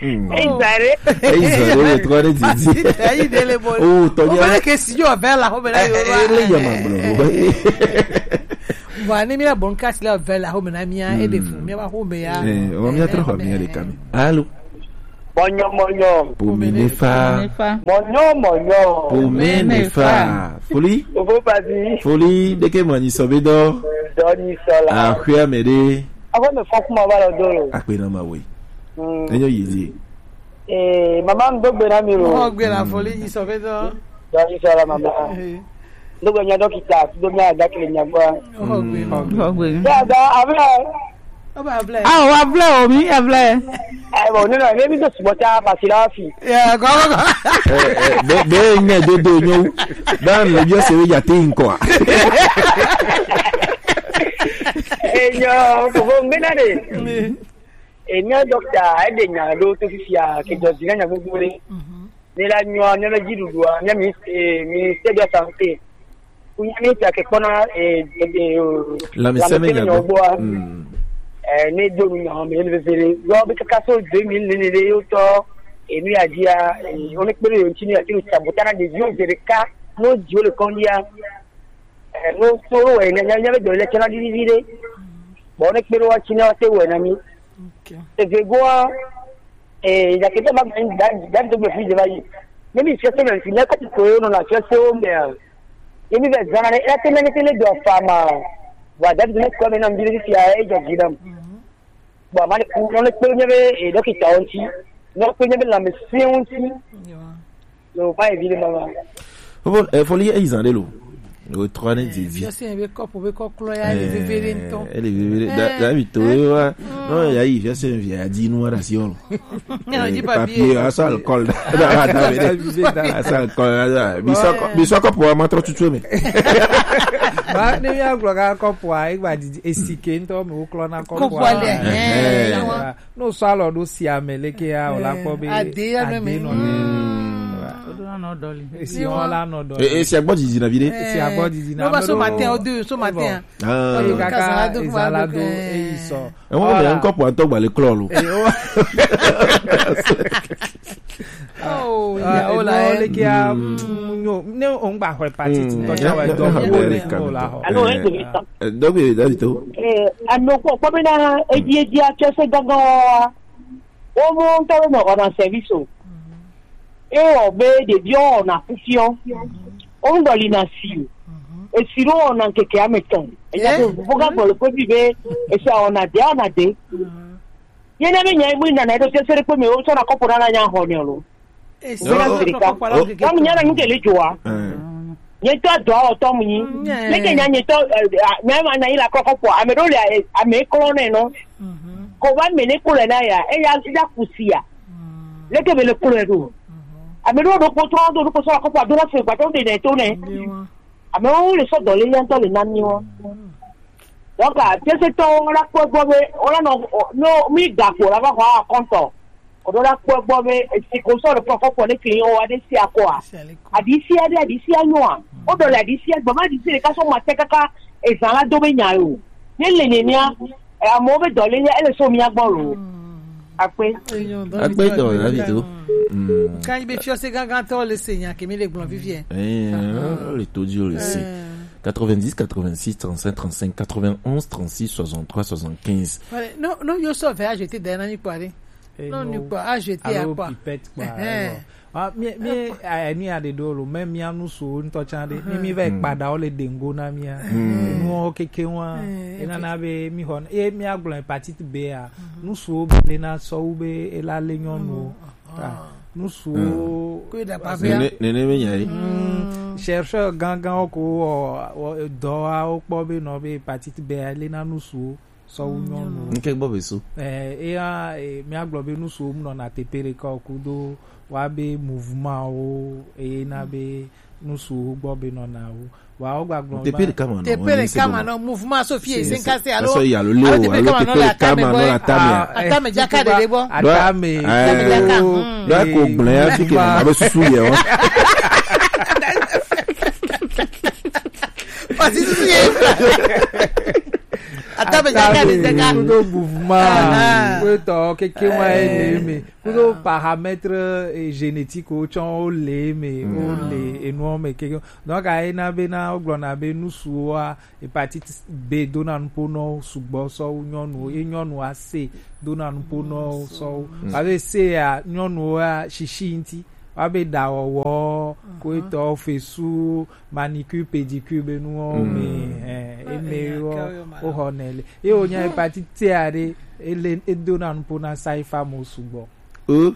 Hey, Zare. Hey, Zare, le trois de didi. Hey, dele bo. Oh, to nya. O ke si yo ve la ho me na yo. Eh, eh, le ya ma blo. Wa ni mi la bon kasi la ve la ho me na mía e de fu. Míava xo me ya. Eh, o mía trɔ xɔ mía ɖeka mi. Allô. Mɔnyɔ, mɔnyɔ. Pomene fa. Mɔnyɔ, mɔnyɔ. Pomene fa. Foli. Ovo pasi. Foli, ɖeke mɔ nyi sɔ be dɔ. Dɔ nyi sɔ la. Axwe ame ɖe. Axwe me fɔ kuma va lɔ do lo. Akpe na ma we. Mm. Enyo yi di. Eh, mama, n do gbe na mi lo. N do gbe na Foli nyi sɔ be dɔ. Dɔ nyi sɔ la, mama. Eh. N do gbe nya dɔkita, do nya dakle nya gba. N do gbe. N do gbe. Ya da, avla. Awo, wa vlɛ o, mi ya vlɛ. Eh, bon, non, non, mais mi do supporter parce que la fi. Ya, go, go, go. Eh, eh, be, be, ne do do nyo. Dan le bio se ya te nko. Eh, nyo, ko bo ngbe na de. Eh, mía dɔkita, e de nya do to fifia, ke do zina nya gbogbo re. Ne la nyɔa, ne la dziɖuɖua, ne mi, eh, ministère de la santé. Kunya mi ta ke kpɔna, eh, eh, eh, lãmesẽ me nya gbɔ. Mm. Eh, ne do nu nya me le veve. Yo be kaka so deux mille ne ne yo to, eh, mi adia, eh, o ne kpere yo ntini ati ta botana de yo zereka, no dio le kondia. Eh, no so we ne nya nya be do le chana di di de. Bo ne kpere wa china te we na mi. Ok. E ve go a, eh, ya ke ba ba da da do be fi de ba yi. Ne mi se se na fi ne ko ko yo no na se se o me a. Ye mi be zana ne e te ne te le do fa ma. Wa da do ne ko me na mbi fi a e jo gidam. Bon, ma ne ku no le pe ne be e dɔkita onti. No pe ne be la me se onti. Yo. Yo, pa e vi le mama. Bon, eh, Foli, eh, zan de lo. O trois ne di vi. Fiase be kɔpu be kɔklɔ ya, ele veve ɖe ŋutɔ. Ele veve ɖe. Da, da mi to, eh, wa. Non, ya yi, fiase vi a di nu ara si on. Non, di papier, papier, a sa alcool. Da, da, da, da, a sa alcool, da, da. Bisɔ, bisɔ kɔpu a ma trɔ tutu me. Ba, ne ya gblɔ ka kɔpu a, e gba di, esike ŋutɔ me wo klɔ na kɔpu a. Kɔpu a le, eh, eh, eh. Ne wosɔ alɔ ɖo sia me leke ya, wòla kpɔ be ade ya nɔ eme. Ade nɔ eme. Mm. Esi wọn la nɔ dɔ. E, esi agbɔ didi na vi ɖe. Esi agbɔ didi na. No ba so matin o deux so matin. Ah. Kaka ezalado eyi sɔ. E wọn bɛ nkɔ pɔ ntɔ gbalɛ klɔ lo. Oh, ya o la e. Leke a nyo ne o ngba hɔ hepatite ntɔ tsa wa dɔ wo le o la hɔ. Alo e do mi tɔ. Dɔgbe dabi to. Eh, ano kpɔ kpɔ bena eji eji atsɔ se gangan wa. Wo mo ntɔ be nɔ ɔna service o. Ewɔ be ɖeviwo wɔna kufiɔ. Woŋgɔ li na si o. Esi ɖo wɔna ŋkeke ame tɔn. Enya be vovo ga gbɔ le kpe bi be esi awɔna de awɔna de. Ye ne be nya emu nana eɖo tese ɖe kpe me wo tsɔ na kɔpo nana nya xɔ ne lo. Esi na siri ka. Tɔmu nya na nu ke le joa. Nye tɔ dɔ awɔ tɔmu nyi. Ne ke nya nye tɔ nya ma na yi la kɔkɔ po. Ame ɖo le ame klɔ ne no. Ko ba me ne ko le na ya. Eya ya kusi ya. Leke be le klo ɖo. Ame ɖo ɖo kpotɔ ɖo ɖo kpotɔ akɔkɔ ado na se gbadɔ de ne to ne. Ame wo le sɔ dɔ le nya ŋutɔ le na mi wo. Donc, a tese tɔ wo la kpɔ gbɔ be wo la nɔ no mi ga ko la va xɔ akɔntɔ. O ɖo la kpɔ gbɔ be esi ko sɔ le kɔkɔ kpɔ ne kli wo ade si akɔa. Adi si ade adi si anyoa. O dɔ le adi si agba ma adi si le ka sɔ ma te kaka ezan la do be nya yo. Ne le ne nya. Amewo be dɔ le nye ele so mía gbɔ lo. Akpe. Akpe tɔ la vi to. Kan be fiɔ se gangan tɔ le se nya ke mi le gblɔ vivie. Eh, le to di o le se. Quatre-vingt-dix, quatre-vingt-six, trente-cinq, trente-cinq, quatre-vingt-onze, trente-six, soixante-trois, soixante-quinze. Voilà, non, non, yo so vɛ a jeter derrière ni kpɔ ale. Non, ni kpɔ a jeter a kpɔ. Pipette kpɔ. Ah, mi mi eh, mi a de do lo, même mi a nu so ntɔ tsa de. Mi mi vɛ kpada o le dengo na mi a. Nu o keke wa. E na na be mi hɔ. E mi a gblɔ hepatite B a. Nu so be le na sɔ wu be e la le nyɔnu o. Ah, nu so. Ko da pa be. Nene nene me nya yi. Chercheur gangan o ko o dɔ a o kpɔ be nɔ be hepatite B a le na nu so. Sɔ wu nyɔnu. Nke gbɔ be so. Eh, eya, eh, mi a gblɔ be nu so mu nɔna tepe ɖeka o kudo wa be mouvement wo, eye na be nu so gbɔ be nɔna wo. Wa wo gba gblɔ tepe ɖeka ma nɔ. Tepe ɖeka ma nɔ mouvement so fie se nka se alo. Alo tepe ɖeka ma nɔ le atame gbɔ. Atame jaka ɖe ɖe gbɔ. Atame. Atame jaka. Ɖo ko gblẽ ya fi ke ma be susu ye wa. Parce que susu ye. Ata be jaka de jaka. Kudo mouvement. Kudo tɔ keke wa ele me. Kudo paramètre génétique o tsɔn o le me o le enu me keke. Donc a ena be na o gblɔ na be nusu wa hepatite B dona nupo nɔ sugbɔ sɔ wu nyɔnu ye nyɔnu a se dona nupo nɔ sɔ wu. Parce que se ya nyɔnu wa shishi nti. Wa be ɖawɔwɔ, ko etɔ fesu, manicure, pédicure be nuwo me, eh, eme yo, o xɔ ne le. Ye o nya hepatite A ɖe, ele, e dona nupo na saifa mo sugbɔ. Euh.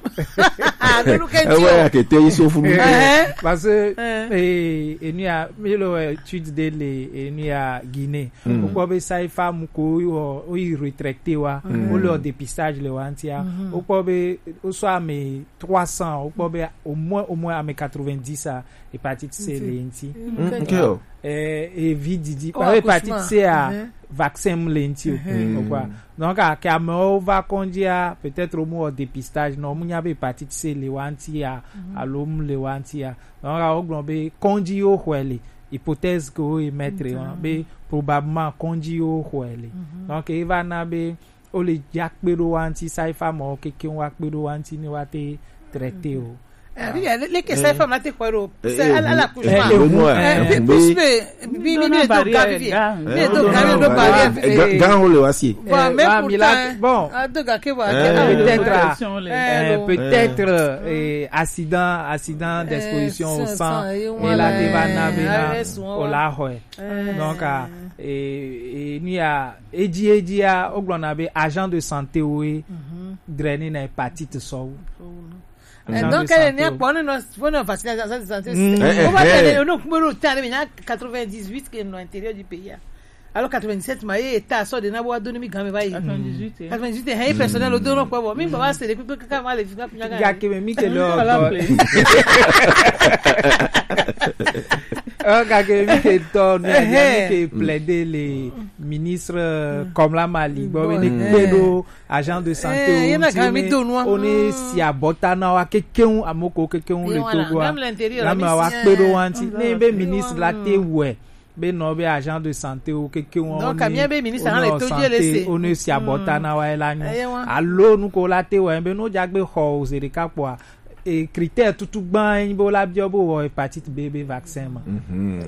Ah, nunu ke ti o. Ewe ya ke te yi so funu. Eh, parce que, eh, enu ya, mi lo, eh, étude de le, enu ya Guinée. O kpɔ be saifa mu ko o, o yi retraité wa, o le o dépistage le wa ntia. O kpɔ be, o sɔ ame trois cents, o kpɔ be au moins, au moins ame quatre-vingt-dix a hepatite C le nti. Mm, ok, o. Eh, e vi didi. Oh, parce que hepatite C a vaccin mu le nti o. O kpɔ. Donc, a ke amewo va kɔdzi a, peut-être o mu wɔ dépistage, non, o mu nya be hepatite C le wa nti a, alo mu le wa nti a. Donc, a o gblɔ be kɔdzi yo xɔe le, hypothèse ke o émettre wa, be probablement kɔdzi yo xɔe le. Donc, e va na be o le dza kpe ɖo wa ŋuti, saifa mɔ keke wa kpe ɖo wa ŋuti ne wa te traité o. Eh, oui, le, le ke saifa ma te xɔe ɖo. C'est à, à l'accouchement. Eh, eh, eh, plus, mais, mi, mi, mi le do ga vivi. Mi le do ga, mi le do barrière vivi. Ga, ga ho le wa si. Bon, mais pourtant, bon. A do ga ke wa, peut-être, euh, peut-être, euh, accident, accident d'exposition au sang. Et là, te va na be na, o la xɔe. Donc, ah, et, et, ni a, Edzi, edzia, wogblɔna be agent de santé woe drɛnɛ na hépatite sɔwu. Eh, donc, elle n'est pas, non, non, faut non vacciner agent de santé. Mm. Eh, eh, on va eh. Donner, on peut le temps, mais il y a quatre-vingt-dix-huit qui est à l'intérieur du pays, hein. Alors, quatre-vingt-dix-sept, ma, eh, ta, sort de Nabo, a donné mi gamme, va y. Quatre-vingt-dix-huit, eh. Quatre-vingt-dix-huit, eh, personnel, au don, quoi, bon, mais, bah, c'est depuis que, quand, quand, les, quand, quand, ya ke me mi ke le. Voilà, o. Please. Ɔ gake mi ke tɔ ne mi ke plaider le ministre comme la mali gbɔ be ne kpe ɖo agent de santé o ŋuti ne o ne si abɔta na wa kekeŋ amoko kekeŋ le Togo a na me wa kpe ɖo wa ŋuti ne be ministre la te wɛ be nɔ be agent de santé o kekeŋ o ne o ne o santé o ne si abɔta na wa la nyo alo nuko la te wɛ be no jagbe xɔ o ze ɖeka kpɔa e critère tutu gbã ye nyi be wola biɔ be wɔ hépatite B be vaccin ma.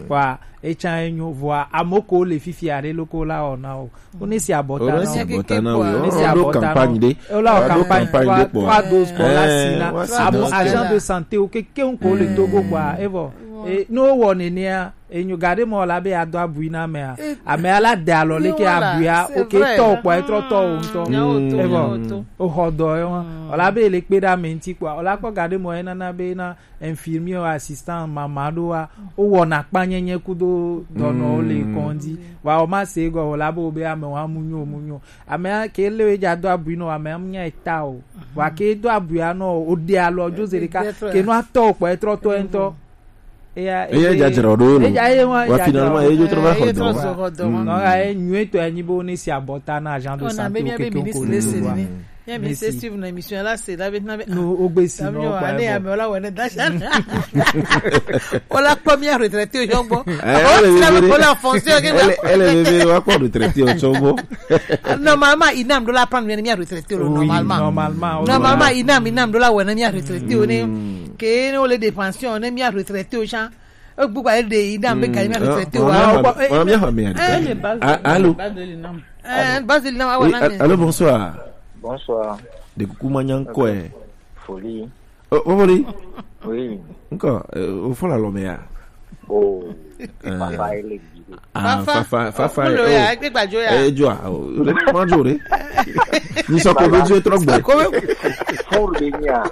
Wa etsa enyo vɔa amoko le fifi aɖe loko la wɔ na o. Wo ne si abɔta na o. Ne si abɔta na o. Wo la wɔ campagne ɖe. Wo la wɔ campagne ɖe kpɔ. Trois doses kpɔ la si na. Amo agent de santé o kekeŋ ko le Togo kpɔa. Evɔ e ne wo wɔ nenea enyo gaɖe mɔ la be ado abui na amea. Amea la de alɔ leke abuia o ke tɔ kpɔ etrɔ tɔ o ŋutɔ. Evɔ o xɔ dɔ ye wa. O la be le kpe ɖe ame ŋuti kpɔa. O la kpɔ gaɖe mɔ ye nana be na infirmier wa assistant mama ɖo wa o wɔna kpanyenye kudo dɔnɔwo le kɔndzi wa o ma se gɔ o la be o be ame wa mu nyo mu nyo ame ke le we dza do abui nɔ ame am nya eta o wa ke do abui anɔ o de alɔ jo ze ɖeka ke nɔ atɔ o kpɔ etrɔ tɔ entɔ eya eya dza dzra o ɖo no eya ye wa wa finalement eya jo trɔ va xɔ dɔ wa nɔ ya ye nyuie tɔ ya nyi be o ne si abɔta na agent de santé o keke o ko le wa Bien, mais c'est suivre une émission là, c'est là maintenant. Nous, au Bessie, non, pas ane ame wala wene dasha. Wala kpɔ mia retraité o jɔngbɔ. Wala fonction ke wala. Elle est bébé, wa kpɔ retraité o jɔngbɔ. Normalement, inam do la prendre mia retraité o normalement. Normalement, inam inam do la wene mia retraité o ne. Ke ne o le de pension ne mia retraité o chan. Gbogbo ayi de yi dam be gari ma fɛ te wa. Wa mi ha mi. Allô. Eh, basi na wa na. Allô, bonsoir. Bonsoir. De kuku ma nyan ko e. Foli. O foli. Oui. Nko o fo la lo me ya. Oh. Papa ele. Ah, fafa fafa. Lo ya gbe gbajo ya. Eh jo a. O le ma jo re. Ni so ko be jo tro gbe. Furu de nya.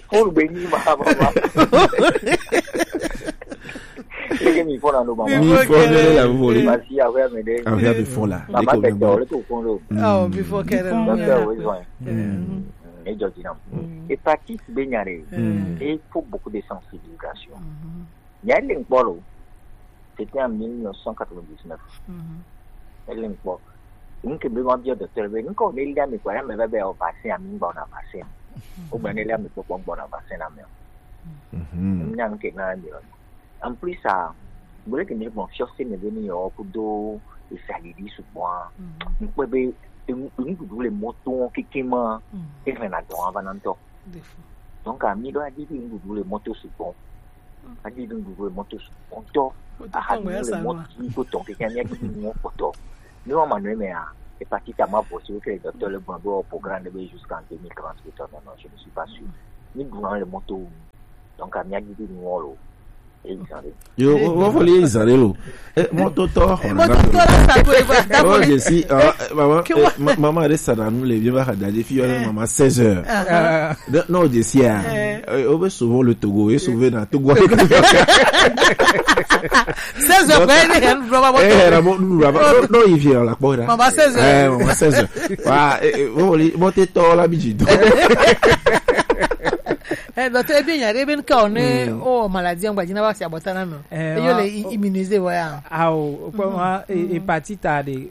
Furu be ni ma ma. Leke mi fɔ na no ma. Mi fɔ ne la vo le. Basi a vɛ me de. A vɛ bi fɔ la. Mama te to le ko fɔ lo. Oh, before kere. Docteur, oui, soin. E jɔ dinam. Hépatite B nya re. Il faut beaucoup de sensibilisation. Nya le nkpɔ lo. C'était en mille neuf cent quatre-vingt-dix-neuf. Ele nkpɔ. Nke be ma biɔ docteur be nke o ne lia mi kɔ ya me be be o vaccin ami ngba na vaccin. O gbe ne lia mi kpɔkpɔ ngba na vaccin na me. Nya nke na mi. En plus a bole ke mi bon fiɔ se me be ni yo kudo isadidi sugbɔn. Nkpɔ be nuɖuɖu le mɔto keke ma e na dɔn ava na ŋutɔ. Donc ami ɖo adidi nuɖuɖu le mɔto sugbɔn. Adi ɖu nuɖuɖu le mɔto sugbɔntɔ. Aha nu le mɔto yi ko tɔn keke mía ɖi nu kpɔtɔ. Ne wa ma nɔ mea, hépatite ma vɔ si woke docteur le gblɔ be wɔ programme de be jusqu'en deux mille trente ke tɔ non, non, je ne suis pas sûr. Ni ɖu na le mɔto wu. Donc mía ɖi ɖi nu wɔ lo. Eyi zan ɖe. Yo, wo fɔ le eyi zan ɖe lo. E mɔto tɔ xɔ na. Mɔto tɔ la sa ko e ba da. Oh, je suis, ah, maman, maman de sa na nu le bien va da de fi yo maman seize heures. Non, je suis. O be souvent le Togo, e souvent na Togo. Seize heures, ben, il y a un drama. Eh, la bon, nous la bon. Non, il vient la bon. Maman seize heures. Eh, maman seize heures. Wa, eh, bon, bon, t'es tort la biji. Eh, donc, eh bien, il y a des ben quand on est, oh, maladie, on va dire, on va s'y aborder, non. Eh, yo le immunisé, voilà. Ah, oh, hépatite A de,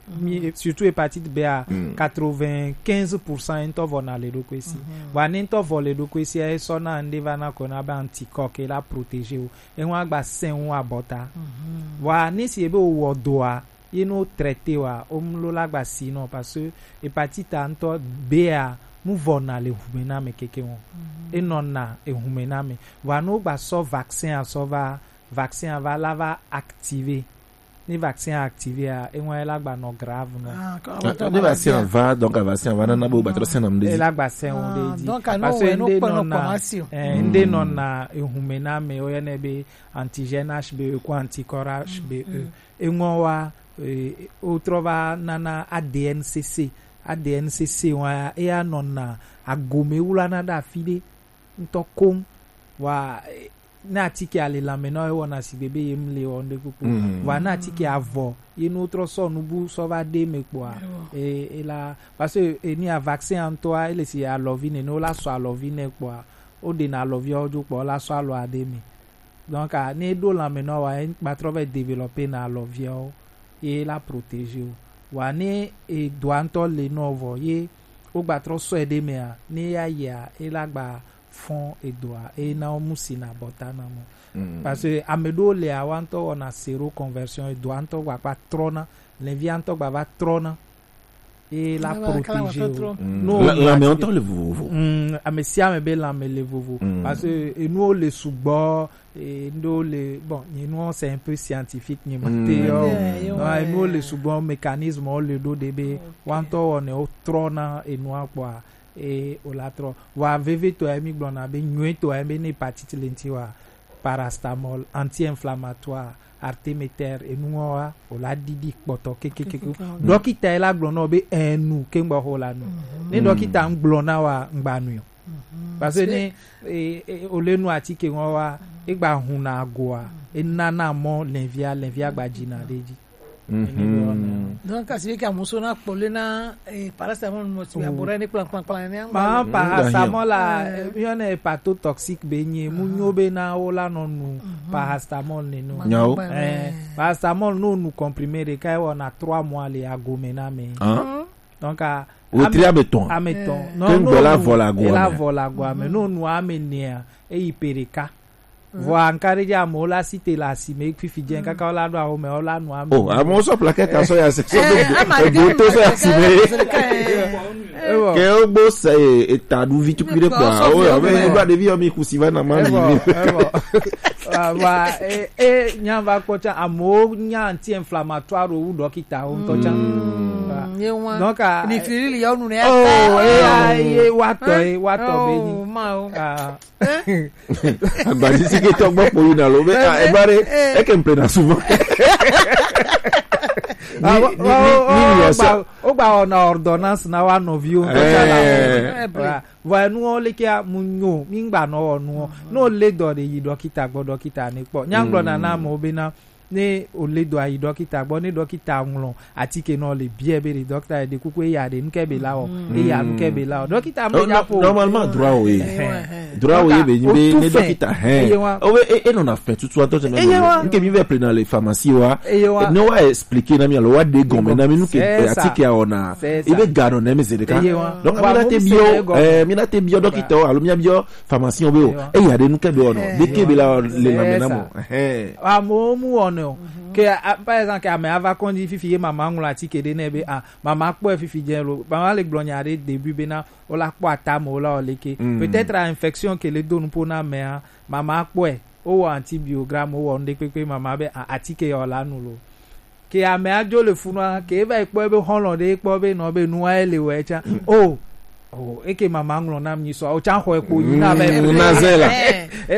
surtout hépatite B A, quatre-vingt-quinze pour cent ŋutɔ vɔ na le ɖokui si. Vɔa ne ŋutɔ vɔ le ɖokui si, esɔ na ŋɖe va na kɔ na be anticorps ke la protéger wo. Eŋu agba sɛn wu abɔta. Vɔa ne si ebe wo wɔ doa, ye no traité wa, o mlo la gba si nɔ parce que hépatite A ŋutɔ B A mu vɔ na le hume na me keke wo. Enɔ na ehume na me. Vɔa no gba sɔ vaccin a sɔ va, vaccin a va la va activé. Ni vaccin a activé a, eŋua la gba nɔ grave nɔ. Ah, ni vaccin a va, donc vaccin a va nana bo ba trɔ sɛn na mde. E la gba sɛn wo de di. Donc, parce que nde nɔ na, eh, nde nɔ na ehume na me, o yene be antigène H B E ko anticorps H B E. Eŋua wa, eh, o trɔ va nana A D N C C. A D N C C wa, e ya nɔ na agome wula na da fi de. Ŋutɔ koŋ. Vɔa, eh, ne atike a le lãme na wo, ewɔna sigbe be ye mle wɔ ŋɖe kpokpo. Vɔa ne atike a vɔ, ye ne wotrɔ sɔ nubu sɔ va ɖe me kpɔa, e, e la, parce que, e, ni a vaccin a ŋutɔa, ele si alɔvi nɛ, ne wola sɔ alɔvi nɛ kpɔa, woɖena alɔviawo dzo kpɔa, wola sɔ alɔa ɖe me. Donc, ah, ne e ɖo lanmɛ nɔ wa, e gba trɔ vɛ développer na alɔviawo, ye la protéger wo. Wa ne e doa ŋutɔ le nɔ vɔ, ye wo gba trɔ sɔe ɖe mɛa, ne ya yia, e la gba fɔn edoa, e na wo mu si na bɔta na mo. Parce que ame ɖewo le awa ŋutɔ wɔna séroconversion, edoa ŋutɔ gba kpa trɔna, lɛvia ŋutɔ gba va trɔna. E la protéger wo. No, la, lanmɛ ŋutɔ le vovovo. Mm, ame sia ame be lanmɛ le vovo. Parce que enuwo le sugbɔ, e, ndo le, bon, nye nuwo c'est un peu scientifique, nye ma te yo. Non, enuwo le sugbɔ, mécanisme wo le ɖo ɖe be, wa ŋutɔ wɔnɛ wo trɔna enua kpɔa, e, o la trɔ. Wa vevitɔ ya mi gblɔna be, nyuitɔ ya be ne hépatite le ŋuti wa, paracétamol, anti-inflammatoire, artéméter, enuwo wa, o la ɖiɖi kpɔtɔ kekekeke. Dɔkita yi la gblɔ na wo be enu ke ŋgbɔ xo la nu. Ne dɔkita ŋgblɔ na wa, ŋgba nu o. Parce que ne, e, e, o le nu atike ŋɔ wa, e gba hun na agoa, e nana mɔ lɛvia, lɛvia gba dzi na ɖe dzi. Donc, kasi ke amuso na kpɔle na, eh, paracétamol mo ti abora ni plan, plan, plan, ni angba. Ma paracétamol la, eh, yɔnɛ hépatotoxique be nye, mu nyo be na wo la nɔ nu paracétamol ne no. Nyawo. Eh, paracétamol no nu comprimé ɖeka wɔna trois mois le agome na mɛ. Donc, a, wetri ame etɔn. Ame etɔn. Ke ŋgbɔ la vɔ le agoa me. La vɔ le agoa me. No nu ame nea, eyi pe ɖeka. Vɔa ŋkaɖedzi amewo la si te le asime fifi dze kaka wo la ɖo awo me wo la nu ame. Oh, amewo sɔ plaquette asɔ ya se sɔ do ego to sɔ ya asime. Ke wo gbo se eta ɖu vi tukui ɖe kpɔa wo ya be ba ɖevi yɔ mi kusi va na ma mi. Vɔa e e nya va kpɔ tsa amewo nya anti-inflammatoire wu dɔkita wo ŋutɔ tsa. Donc, a, ni fili ya nu ne. Oh, e ya ye wa tɔ e wa tɔ be ni. Agbadisike tɔ gbɔ kpo yina lo be, ah, eba ɖe eke ŋple na souvent. Ni ni ni ni ya sa. Wo gba wɔna ordonnance na wa nɔviwo ŋutɔ tsa la. Vɔ enuwo leke mu nyo mi ŋgba nɔ wɔ nuwo. No le dɔ ɖe yi dɔkita gbɔ dɔkita ne kpɔ. Nya ŋgblɔ na na amewo be na ne o le dɔ ayi dɔkita gbɔ ne dɔkita ŋlɔ atike nɔ le biɛ be ɖe dɔkita ɖe kuku eya ɖe nukɛ be la wɔ eya nukɛ be la wɔ dɔkita me nya po. Normalement droit wo ye. Droit wo ye be nyi be ne dɔkita hɛn o be e nɔna fɛ tutu atɔ tɛ na nukɛ mi vɛ ple na le pharmacie wa ne wa expliquer na mi alo wa de gɔmɛ na mi nukɛ atike a wɔna e be ga nɔ na mi ze ɖeka. Donc mi na te biɔ, eh, mi na te biɔ dɔkita o alo mi na biɔ pharmacien be o eya ɖe nu ke be wɔnɔ ɖe ke be la le lanmɛ na mɔ. Amewo mu wɔnɛ o. Ke, par exemple, ke ame ava kɔndzi fifi ye mama ŋlɔ atike ɖe nɛ be, ah, mama kpɔe fifi dze lo, mama le gblɔ nya ɖe début be na o la kpɔ atame o la o leke. Peut-être infection ke le do nupo na amea, mama kpɔe, o wɔ antibiogramme, o wɔ nu ɖe kpekpe, mama be, ah, atike ya o la nu lo. Ke ame adzo le funua, ke eva yi kpɔ ebe xɔlɔ ɖe kpɔ be nɔ be nua ele wɔ etsa. Oh, oh, eke mama ŋlɔ nam nyi sɔ, o tsa xɔ ekpo yi na be. Mm, na ze la. Eh,